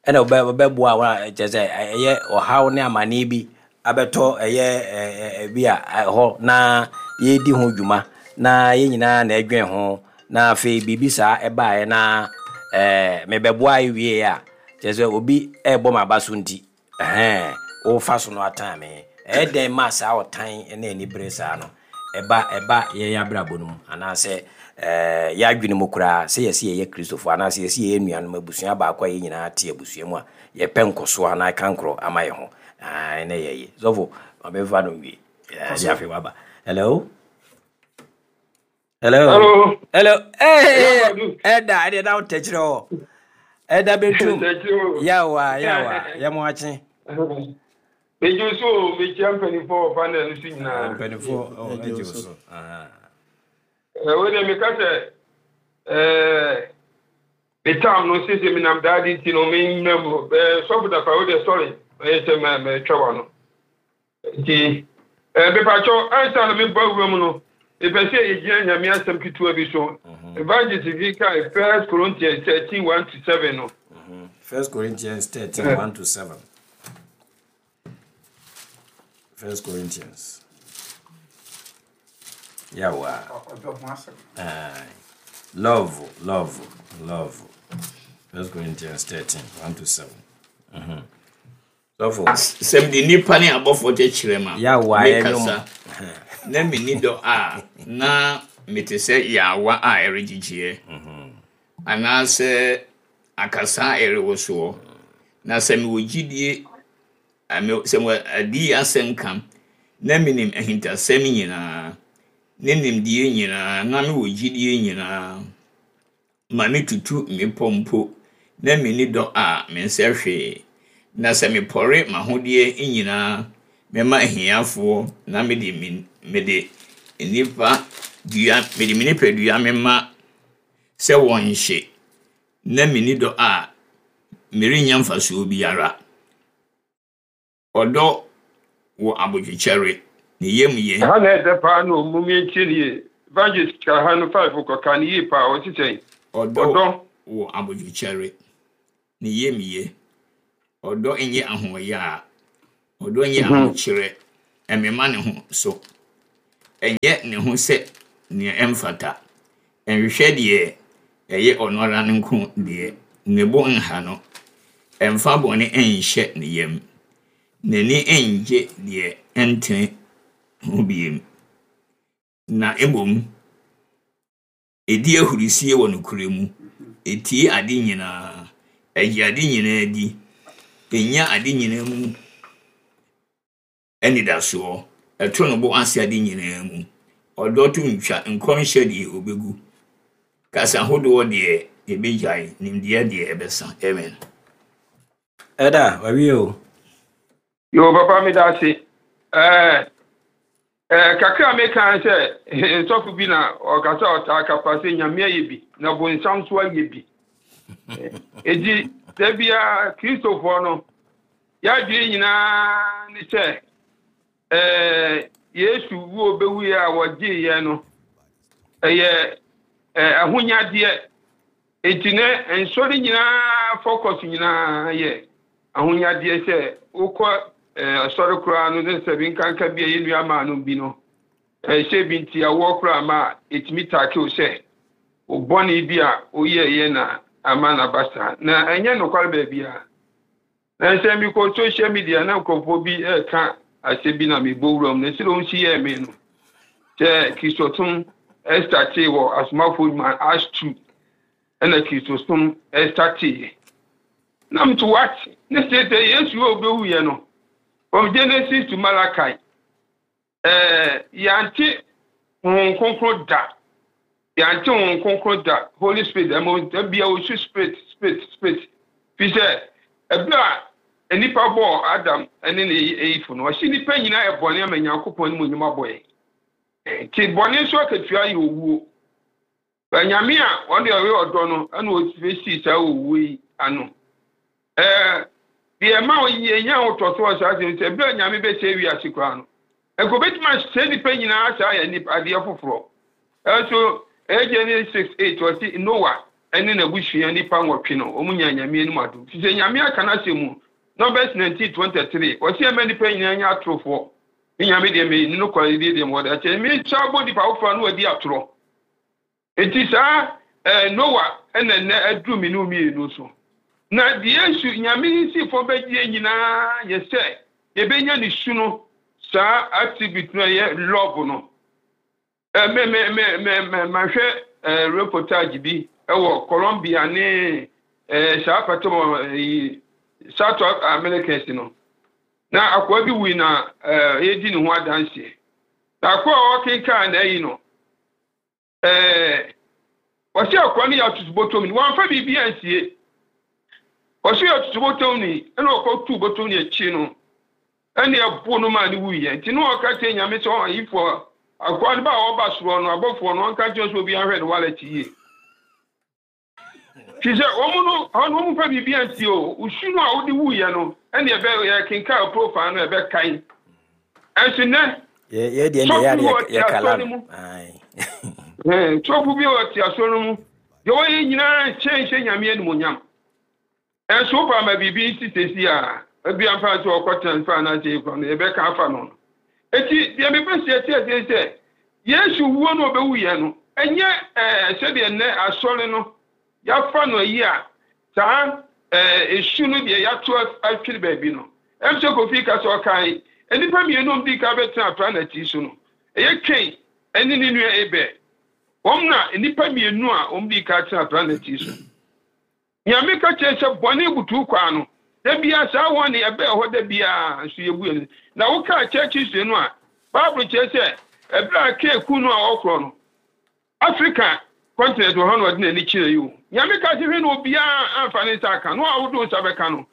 ɛna ɔbɛboa wɔn a kyerɛ sɛ ɛyɛ ɔhaw ne amanneɛ bi abɛtɔ ɛyɛ bi a ɛhɔ na yɛredi ho dwuma na yɛn nyinaa na ɛdwen ho, na afei biribi saa ɛbaeɛ na ɛɛ mebɛboa wie a, kyerɛ sɛ obi ɛrebɔ m'aba so, nti ɛhɛn wofa so no atan me. Ɛyɛ dɛn ma saa ɔtan ne anibere saa no ɛba ɛba yɛn abrabɔ no mu anaasɛ ɛɛ yɛadwene mu koraa sɛ yɛsɛ yɛyɛ Kristofoɔ anaasɛ yɛsɛ yɛyɛ nuanom, abusua baako a yɛn nyinaa te abusua mu a yɛpɛ nkɔsoɔ anaa kankorɔ ama yɛn ho ɛnɛ yɛyɛ? Sɔfo, ma bɛmfa no nwie ɛɛ afei waba. Hello, hello. Hello. Hello. Hey, ɛda ɛdeɛ na wotɛkyerɛ hɔ ɛda bɛtum. Yawa yawa, yɛmo akye. Megye so o, mekyia mpanimfoɔ wɔ panel no so nyinaa. Mpanimfoɔ agye wo so. Wo deɛ, meka sɛ me tam no sese menam daade nti no memmra mu. Sɔfo Dafa, wo deɛ, sɔre, ɛyɛ sɛ mɛtwa wa no nti mepakyɛw, ansa na mebɔ awura mu no, mepɛ sɛ yɛgyina Nyame asɛm ketewa bi so. Evangelist bi kae First Corinthians thirteen one to seven no. First Corinthians thirteen one to seven. First Corinthians. Yawa. Love, love, love. First Corinthians thirteen one to seven. Mm-hmm. Sɔfo. Sɛ mede nnipa ne abɔfoɔ kyerɛkyerɛ ma Yawa. Mekasa na menni dɔ a, na mete sɛ yaawa a ɛregyegyeɛ anaasɛ akasa a ɛrewosoɔ. Na sɛ mewɔ gyidie, sɛ mewɔ adi asɛm ka na menim ahintasɛm nyinaa ne nimdeɛ nyinaa na mewɔ gyidie nyinaa ma metutu mmepɔ mpo na menni dɔ a, mensɛ hwee. Na sɛ mepɔre m'ahodeɛ nyinaa mɛma ahiafoɔ na mede me mede nnipa dua mede me nipadua mema sɛ wɔnhye na menni dɔ a, merenya mfasoɔ biara. Ɔdɔ wɔ abodwokyɛre, ne yam ye. Ha na ɛdɛ paa no, mum yɛntie ne yie. Evangelist ka ha no five kɔka no yie paa, ɔse sɛn? Ɔdɔ Ɔdɔ. wɔ abodwokyɛre, ne yamye. Ɔdɔ nyɛ ahoɔyaa. Ɔdɔ nyɛ ahokyerɛ. Ɛmema ne ho so. Ɛnyɛ ne ho sɛ nea ɛmfata. Ɛnhwehwɛ deɛ ɛyɛ ɔno ara ne nko deɛ. Ne bo nha no. Ɛmfa bɔne nhyɛ ne yam. N'ani ngye deɛ ɛntene ho bio. Na mmom, ɛdi ahurisie wɔ nokorɛ mu. Ɛtie ade nyinaa. Ɛgye ade nyinaa di. Ɛnya ade nyinaa mu anidasoɔ. Ɛto ne bo ase ade nyinaa mu. Ɔdɔ to ntwa, nkɔmhyɛ deɛ obegu. Kasa ahodoɔ deɛ ebegyae, nimdeɛ deɛ ɛbɛsa. Amen. Ɛda wawie o. Yo, papa, meda ase. Ɛɛ ɛɛ kakra a meka sɛ nsɔfo bi na ɔkasa, ɔtaa kapa sɛ Nyame ayɛ bi na bonsam nso ayɛ bi. Eti da biara Kristofoɔ no yɛadwene nyinaa ne sɛ ɛɛ Yesu wuo bɛwuiɛ a wɔgyee yɛn no, ɛyɛ ɛɛ ahonyadeɛ. Eti ne nsɔre nyinaa focus nyinaa yɛ ahonyadeɛ, sɛ wokɔ ɛɛ asɔre koraa no ne sɛ bi nkanka bi a yɛn nua maa no bi no, ɛhyɛ bi nti awoɔ koraa ma etumi taake o sɛ o bɔne bi a oyɛɛyɛ na ama n'aba saa, na ɛnyɛ nokware baabi a. Na nsɛm bi kɔ social media na nkurɔfoɔ bi ɛreka asɛm bi na mebɔ wura mu na sɛ wɔn si yɛɛ me no sɛ Kristosom ɛstartee wɔ Asomafoɔ Nnwuma Acts two, ɛna Kristosom ɛstartee na mto what ne sɛ sɛ Yesu a obɛwuyɛ no, from Genesis to Malachi, ɛɛ yɛante Honhom Kronkron da, yɛante Honhom Kronkron da. Holy Spirit ɛmo ebia osu spirit, spirit, spirit, fi sɛ ɛberɛ a nnipa bɔɔ Adam ne ne eyifo no, ɔhyɛ nnipa nyinaa yɛ bɔne ama Nyankopɔn ne mu onyim abɔ yɛn, nti bɔne nso akatua yɛ owuo. Nyame a ɔde ɔyɛ ɔdɔ no ɛna ɔsii saa owuo yi ano. Ɛɛ deɛ ɛma yɛnya ahotɔso saa asɛm sɛ ɛberɛ a Nyame bɛsɛ wiase koraa no, nka obɛtumi ahyɛ nnipa nyinaa saa yɛ nipa adeɛ foforɔ. Ɛnso ɛyɛ Genesis six eight, ɔsi Noah ɛne n'abusua nipa nwɔtwe no, wɔn nya Nyame anim adom, fi sɛ Nyame aka n'asɛm mu. Numbers nineteen twenty three, ɔsi ɛmɛ nipa nyinaa nyɛ atorofoɔ ne Nyame deɛ mɛ ne no kwan deɛ deɛ mɔ de akyɛ mi nsa bɔ nipa foforɔ no wadi atorɔ. Eti saa ɛɛ Noah ɛna nnɛ aduru mi ne mmienu so na deɛ Yesu Nyame si fam bɛgye nyinaa yɛ sɛ yɛbɛnya ne su no, saa attribute no ɛyɛ love no. ɛɛ mɛ mɛ mɛ mɛ mɛ mahwɛ ɛɛ reportage bi ɛwɔ Colombia ne ɛɛ saa pɛtɛmɔ ɛyi South Americans no, na akoa bi wui na ɛɛ yɛdi ne ho adanseɛ, na akoa a ɔkenkan na ɛyi no, ɛɛ wɔsi akoa no yɛ atutu ni, wɔnfa biribi ansie. Wɔsi yɛ atutu ni, ɛna ɔkɔ tu bɔtɔm ni akyi no, ɛna ɛbo no maa ne wuyɛ. Nti ne ɔka kyerɛ Nyame sɛ ɔyifoɔ akoa no ba a ɔba soro no, abɔfoɔ no ɔnka kyerɛ sɛ obi ahwɛ ne wallet yie, fi sɛ wɔn no ɔno wɔn fa biribi ansie o. Osu no a wode wuyɛ no, ɛna ɛbɛ yɛ kenkan profile no, ɛbɛkan. Ɛnso nɛ yɛ deɛ deɛ yɛ yɛ kala no. Sɔfo bi a ɔte asɔre no mu deɛ, wɔyɛ nyinaa nhyɛ nhyɛ Nyame animonyam. Ɛnso wopa ma biribi nsi sesi a ebi amfa sɛ ɔkɔ transfer anaasɛ ekura no, yɛbɛka afa no no Eti deɛ mepɛ sɛ yɛte aseɛ sɛ Yesu wuo no ɔbɛwu yɛ no, ɛnyɛ ɛɛ sɛdeɛ nnɛ asɔre no yɛafa no ayi a saa ɛɛ esu no deɛ yɛato atwere baabi no. Ɛm sɛ Kofi ka sɛ ɔkan nnipa mmienu di ka bɛtena planet yi so no, ɛyɛ Cain ɛne ne nua Abel. Wɔn na nnipa mmienu a wɔn di ka tena planet yi so. Nyame ka kyerɛ sɛ bɔne butu kwaa no da bia saa wɔn ne ɛbɛɛ hɔ da bia nso yɛbu yɛn. Na wokaa church history no a, Bible kyerɛ sɛ ɛberɛ a Cain ku no a ɔkorɔ no, Africa continent wɔ hɔ na ɔde n'ani kyerɛ yi o. Nyame ka sɛ hwɛ na obiara amfa ne nsa aka no a wode nsa bɛka no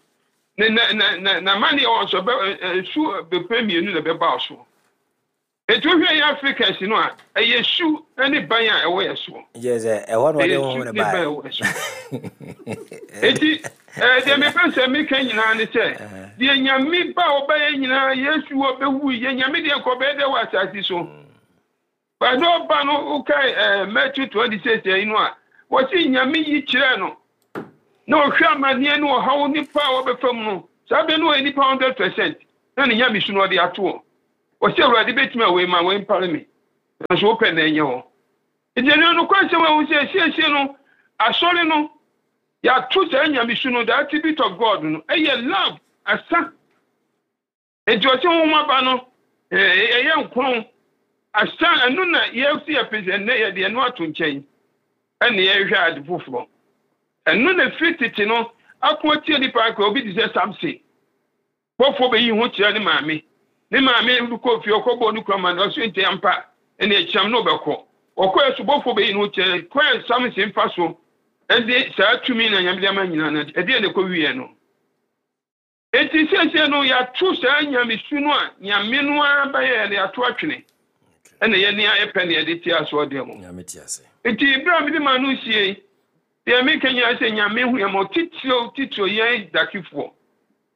ne na na na na mane ɛwɔ nso bɛ nsu bɛpɛ mmienu na ɛbɛba so. Etu hwɛ yɛ Africans no a, ɛyɛ su ne ban a ɛwɔ yɛ soɔ. Kyerɛ sɛ ɛhɔ na ɔde ho ne ne ban baeɛ. Ɛwɔ yɛ so. Eti ɛɛ deɛ mepɛ sɛ meka nyinaa ne sɛ deɛ Nyame ba a ɔbɛyɛ nyinaa, Yesu ɔbɛwu yɛ Nyame deɛ nka ɔbɛyɛ dɛ wɔ asase so. But ɔba no wokae ɛɛ Matthew twenty six ɛyi no a, wɔsi Nyame yi kyerɛ no na ɔhwɛ amanneɛ ne ɔhaw nipa a wɔbɛfa mu no, saa bɛ no ɔyɛ nipa hundred percent na ne Nyame su no ɔde ato hɔ. Wɔsi Awurade bɛtumi a wei ma wei mpare me, nanso wopɛ na ɛnyɛ hɔ. Nti ɛno no kwan sɛ wɔn sɛ siesie no, asɔre no yɛato saa Nyame su no, the attribute of God no, ɛyɛ love asa. Nti ɔsɛ honhom aba no ɛyɛ nkron asa. Ɛno na yɛsi yɛpɛ sɛ ɛnnɛ yɛde ɛno ato nkyɛn ɛna yɛhwɛ ade foforɔ. Ɛno na firi tete no ako atie nipa akɔ. Obi te sɛ Samson, bɔfoɔ bɛyi ho kyerɛ ne maame, ne maame kɔ fie ɔkɔbɔ ne kura ma no ɔso nti ampa ɛna ɛkyɛm na ɔbɛkɔ ɔkɔ ɛso bɔfoɔ bɛyi ho kyerɛ kwan Samson fa so ɛde saa tumi na Nyame de ama nyinaa no, ɛdeɛ na ɛkɔ wie no. Enti siesie no yɛato saa Nyamesu no a Nyame no ara bɛyɛ no, yɛato atwene ɛna yɛne yɛpɛ ne yɛde te asoɔdeɛ mu. Nti berɛ a mede ma no sie deɛ, meka nyinaa sɛ Nyame hu yɛn ma titiriw titiriw yɛn dakefoɔ,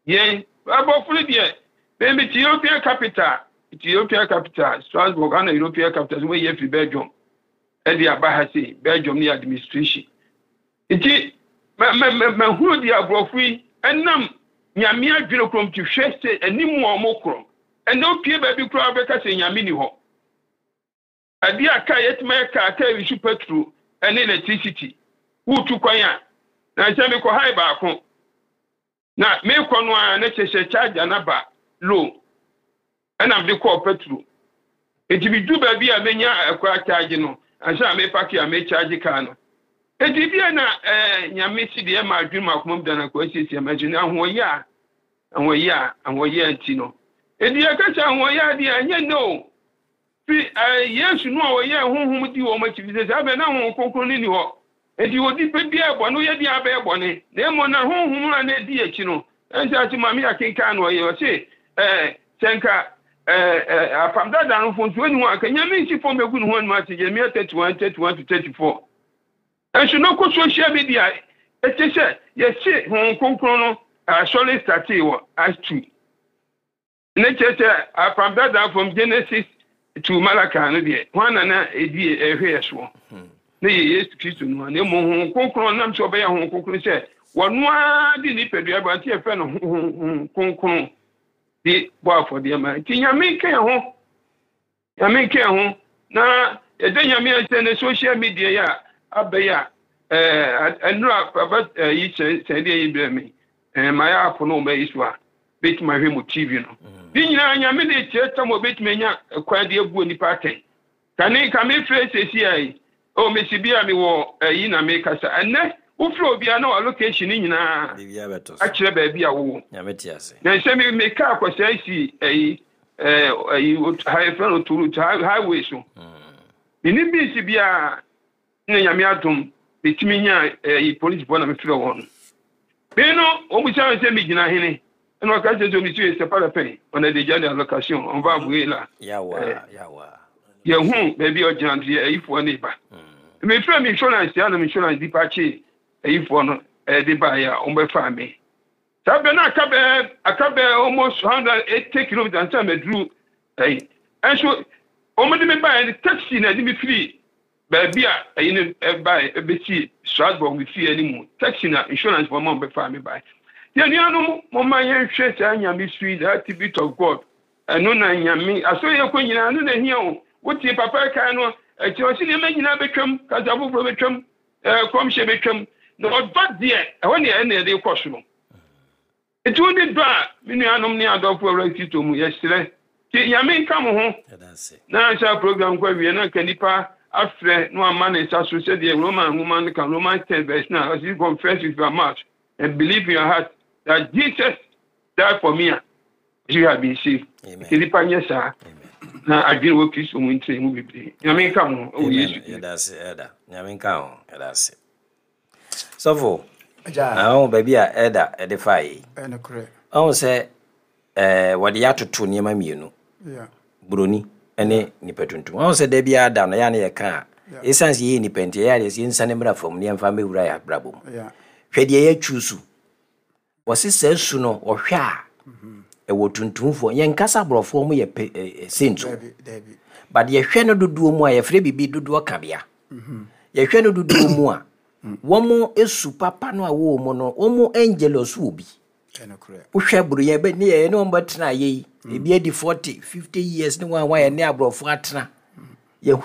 yɛn abɔfo no deɛ, mɛmi te European capital, te European capital Strasbourg ana European capital so wɔyɛ firi Belgium ɛde aba ha sei, Belgium ne administration. Nti mahunu deɛ aborɔfo yi ɛnam Nyame adwene kurom te hwɛ sɛ anim a ɔmo korɔ ɛnna opie baabi koraa bɛka sɛ Nyame ni hɔ. Adeɛ a kaa yɛtuma yɛ kaa kaa yi so petrol ɛne electricity wotu kwan a, na nhyɛn mekɔ hae baako na mekɔ no a, na kyerɛ sɛ charger na ba low ɛna mede kɔɔ petrol. Nti medu baabi a menya ɛkɔ charge no ansa na mepark a mecharge kaa no. Nti bia na ɛɛ Nyame si deɛ ma adwene mu akoma mu da na kɔ asiesie ma nso na ahoɔyɛ a ahoɔyɛ a ahoɔyɛ nti no, nti yɛka sɛ ahoɔyɛ adeɛ a ɛnyɛ no fi ɛɛ Yesu no a ɔyɛ honhom di wɔn akyi fi sɛ saa bɛ na Honhom Kronkron no ni hɔ. Nti onipa biara bɔne woyɛ deɛ abɛyɛ bɔne, na mmom na honhom a na edi akyi no ɛnhyɛ ase maame akenkan no ɔyɛ ɔse ɛɛ sɛ nka ɛɛ ɛɛ apam dada no mfonsuo ni hɔ a, nka Nyame nsi fam egu ne ho anim ase. Jeremia thirty one thirty one to thirty four. Nso no kɔ social media ɛkyɛ sɛ yɛse Honhom Kronkron no asɔre startee wɔ Acts two ne kyerɛ sɛ apam dada from Genesis to Malachi no deɛ, hwan na na edi ɛhwɛ yɛ soɔ ne yɛ Yesu Kristo no a, na mmom Honhom Kronkron nam sɛ ɔbɛyɛ Honhom Kronkron sɛ wɔno ara de nipadua ba, nti yɛfrɛ no Honhom Kronkron de bɔ afɔdeɛ ma. Nti Nyame nka yɛn ho, Nyame nka yɛn ho na yɛda Nyame ahyɛ ne social media yi a abɛyɛ a ɛɛ ɛnura papa yi sɛn sɛn deɛ yi brɛ me ɛɛ mayɛ apo no ɔmo ayi so a bɛtumi ahwɛ mu T V no ne nyinaa. Nyame de kyerɛ tam a obɛtumi anya kwan de abu nipa atɛn kane ka mefrɛ sɛsi a yi o mesi bi a mewɔ ayi na mekasa ɛnɛ wofrɛ obiara na wa location ne nyinaa akyerɛ baabi a wowɔ. Na sɛ me meka akɔsɛe si ayi ɛɛ ayi ha yɛfrɛ no autoroute highway so, menim bi si biara na Nyame adom metumi nya ayi polisifoɔ na mefrɛ wɔn no me no wɔn bisa me sɛ megyina hene, ɛna ɔka kyerɛ sɛ monsieur, c'est pas la peine, on a déjà la location, on va avouer là. Yɛhu baabi a ɔgyina nti ayifoɔ ne ba. Mefrɛ me insurance ya na me insurance nipa kye ayifoɔ no ɛde baeɛ a wɔbɛfaa me saa bɛ no aka bɛɛ aka bɛɛ almost hundred eighty kilometres ansa maduru ɛyi. Ɛnso wɔn de me baeɛ no, taxi na ɛde me firi baabi a ɛyi no ɛbaeɛ ɛbɛsi Strasbourg, me fie anim, taxi na insurance wɔn a wɔbɛfaa me baeɛ. Yɛn nuanom, momma yɛnhwɛ saa Nyame su yi, the attribute of God. Ɛno na Nyame asɔre yɛ kɔ nyinaa no na ehia o. Wotie papa kan no akyi, ɔsi nneɛma nyinaa bɛtwam, kasa foforɔ bɛtwam, ɛɛ kɔmhyɛ bɛtwam, na ɔdɔ deɛ ɛhɔ ne ɛna yɛde kɔ soro. Nti wo ne dɔ a, me nuanom ne adɔfo Awura Kristo mu, yɛsrɛ ti Nyame nka mo ho na nsa program kɔ awie na nka nipa afrɛ na wama ne nsa so sɛdeɛ Roman nwoma no ka, Romans ten verse nine, ɔsi "Confess with your mouth and believe in your heart that Jesus died for me" a, you have been saved. Nti nipa nyɛ saa na adwene wɔ Kristo mu ntire mu bebree. Nyame nka mo ho wɔ Yesu. Yɛda ase ɛda Nyame nka ho. Yɛda ase, sɔfo. Ahu baabi a ɛda ɛde fa yi, ɔhu sɛ ɛɛ wɔde yɛ atoto nneɛma mmienu, buroni ne nipa tuntum. Ɔhu sɛ da biara da no yɛ a ne yɛka a, ɛsiane sɛ yɛyɛ nipa nti ɛyɛ adeɛ sɛ yɛnsane mmra fam ne yɛmfa mmɛwura yɛ abrabɔ mu. Hwɛ deɛ yɛatwu so, wɔse saa su no ɔhwɛ a ɛwɔ tuntumfoɔ, yɛnkasa aborɔfoɔ mo yɛ saint o, But yɛhwɛ no dodoɔ mu a, yɛfrɛ biribi dodoɔ kabea. Yɛhwɛ no dodoɔ mu a, wɔn esu papa no a wɔwɔ mu no, wɔn angelus wɔ bi. Ɛnokorɛ. Wohwɛ buro yɛ bɛ ne yɛ ne wɔn bɛtena ayɛ yi, ebi adi forty, fifty years ne wɔn a wɔayɛ ne aborɔfo atena. Yɛhunu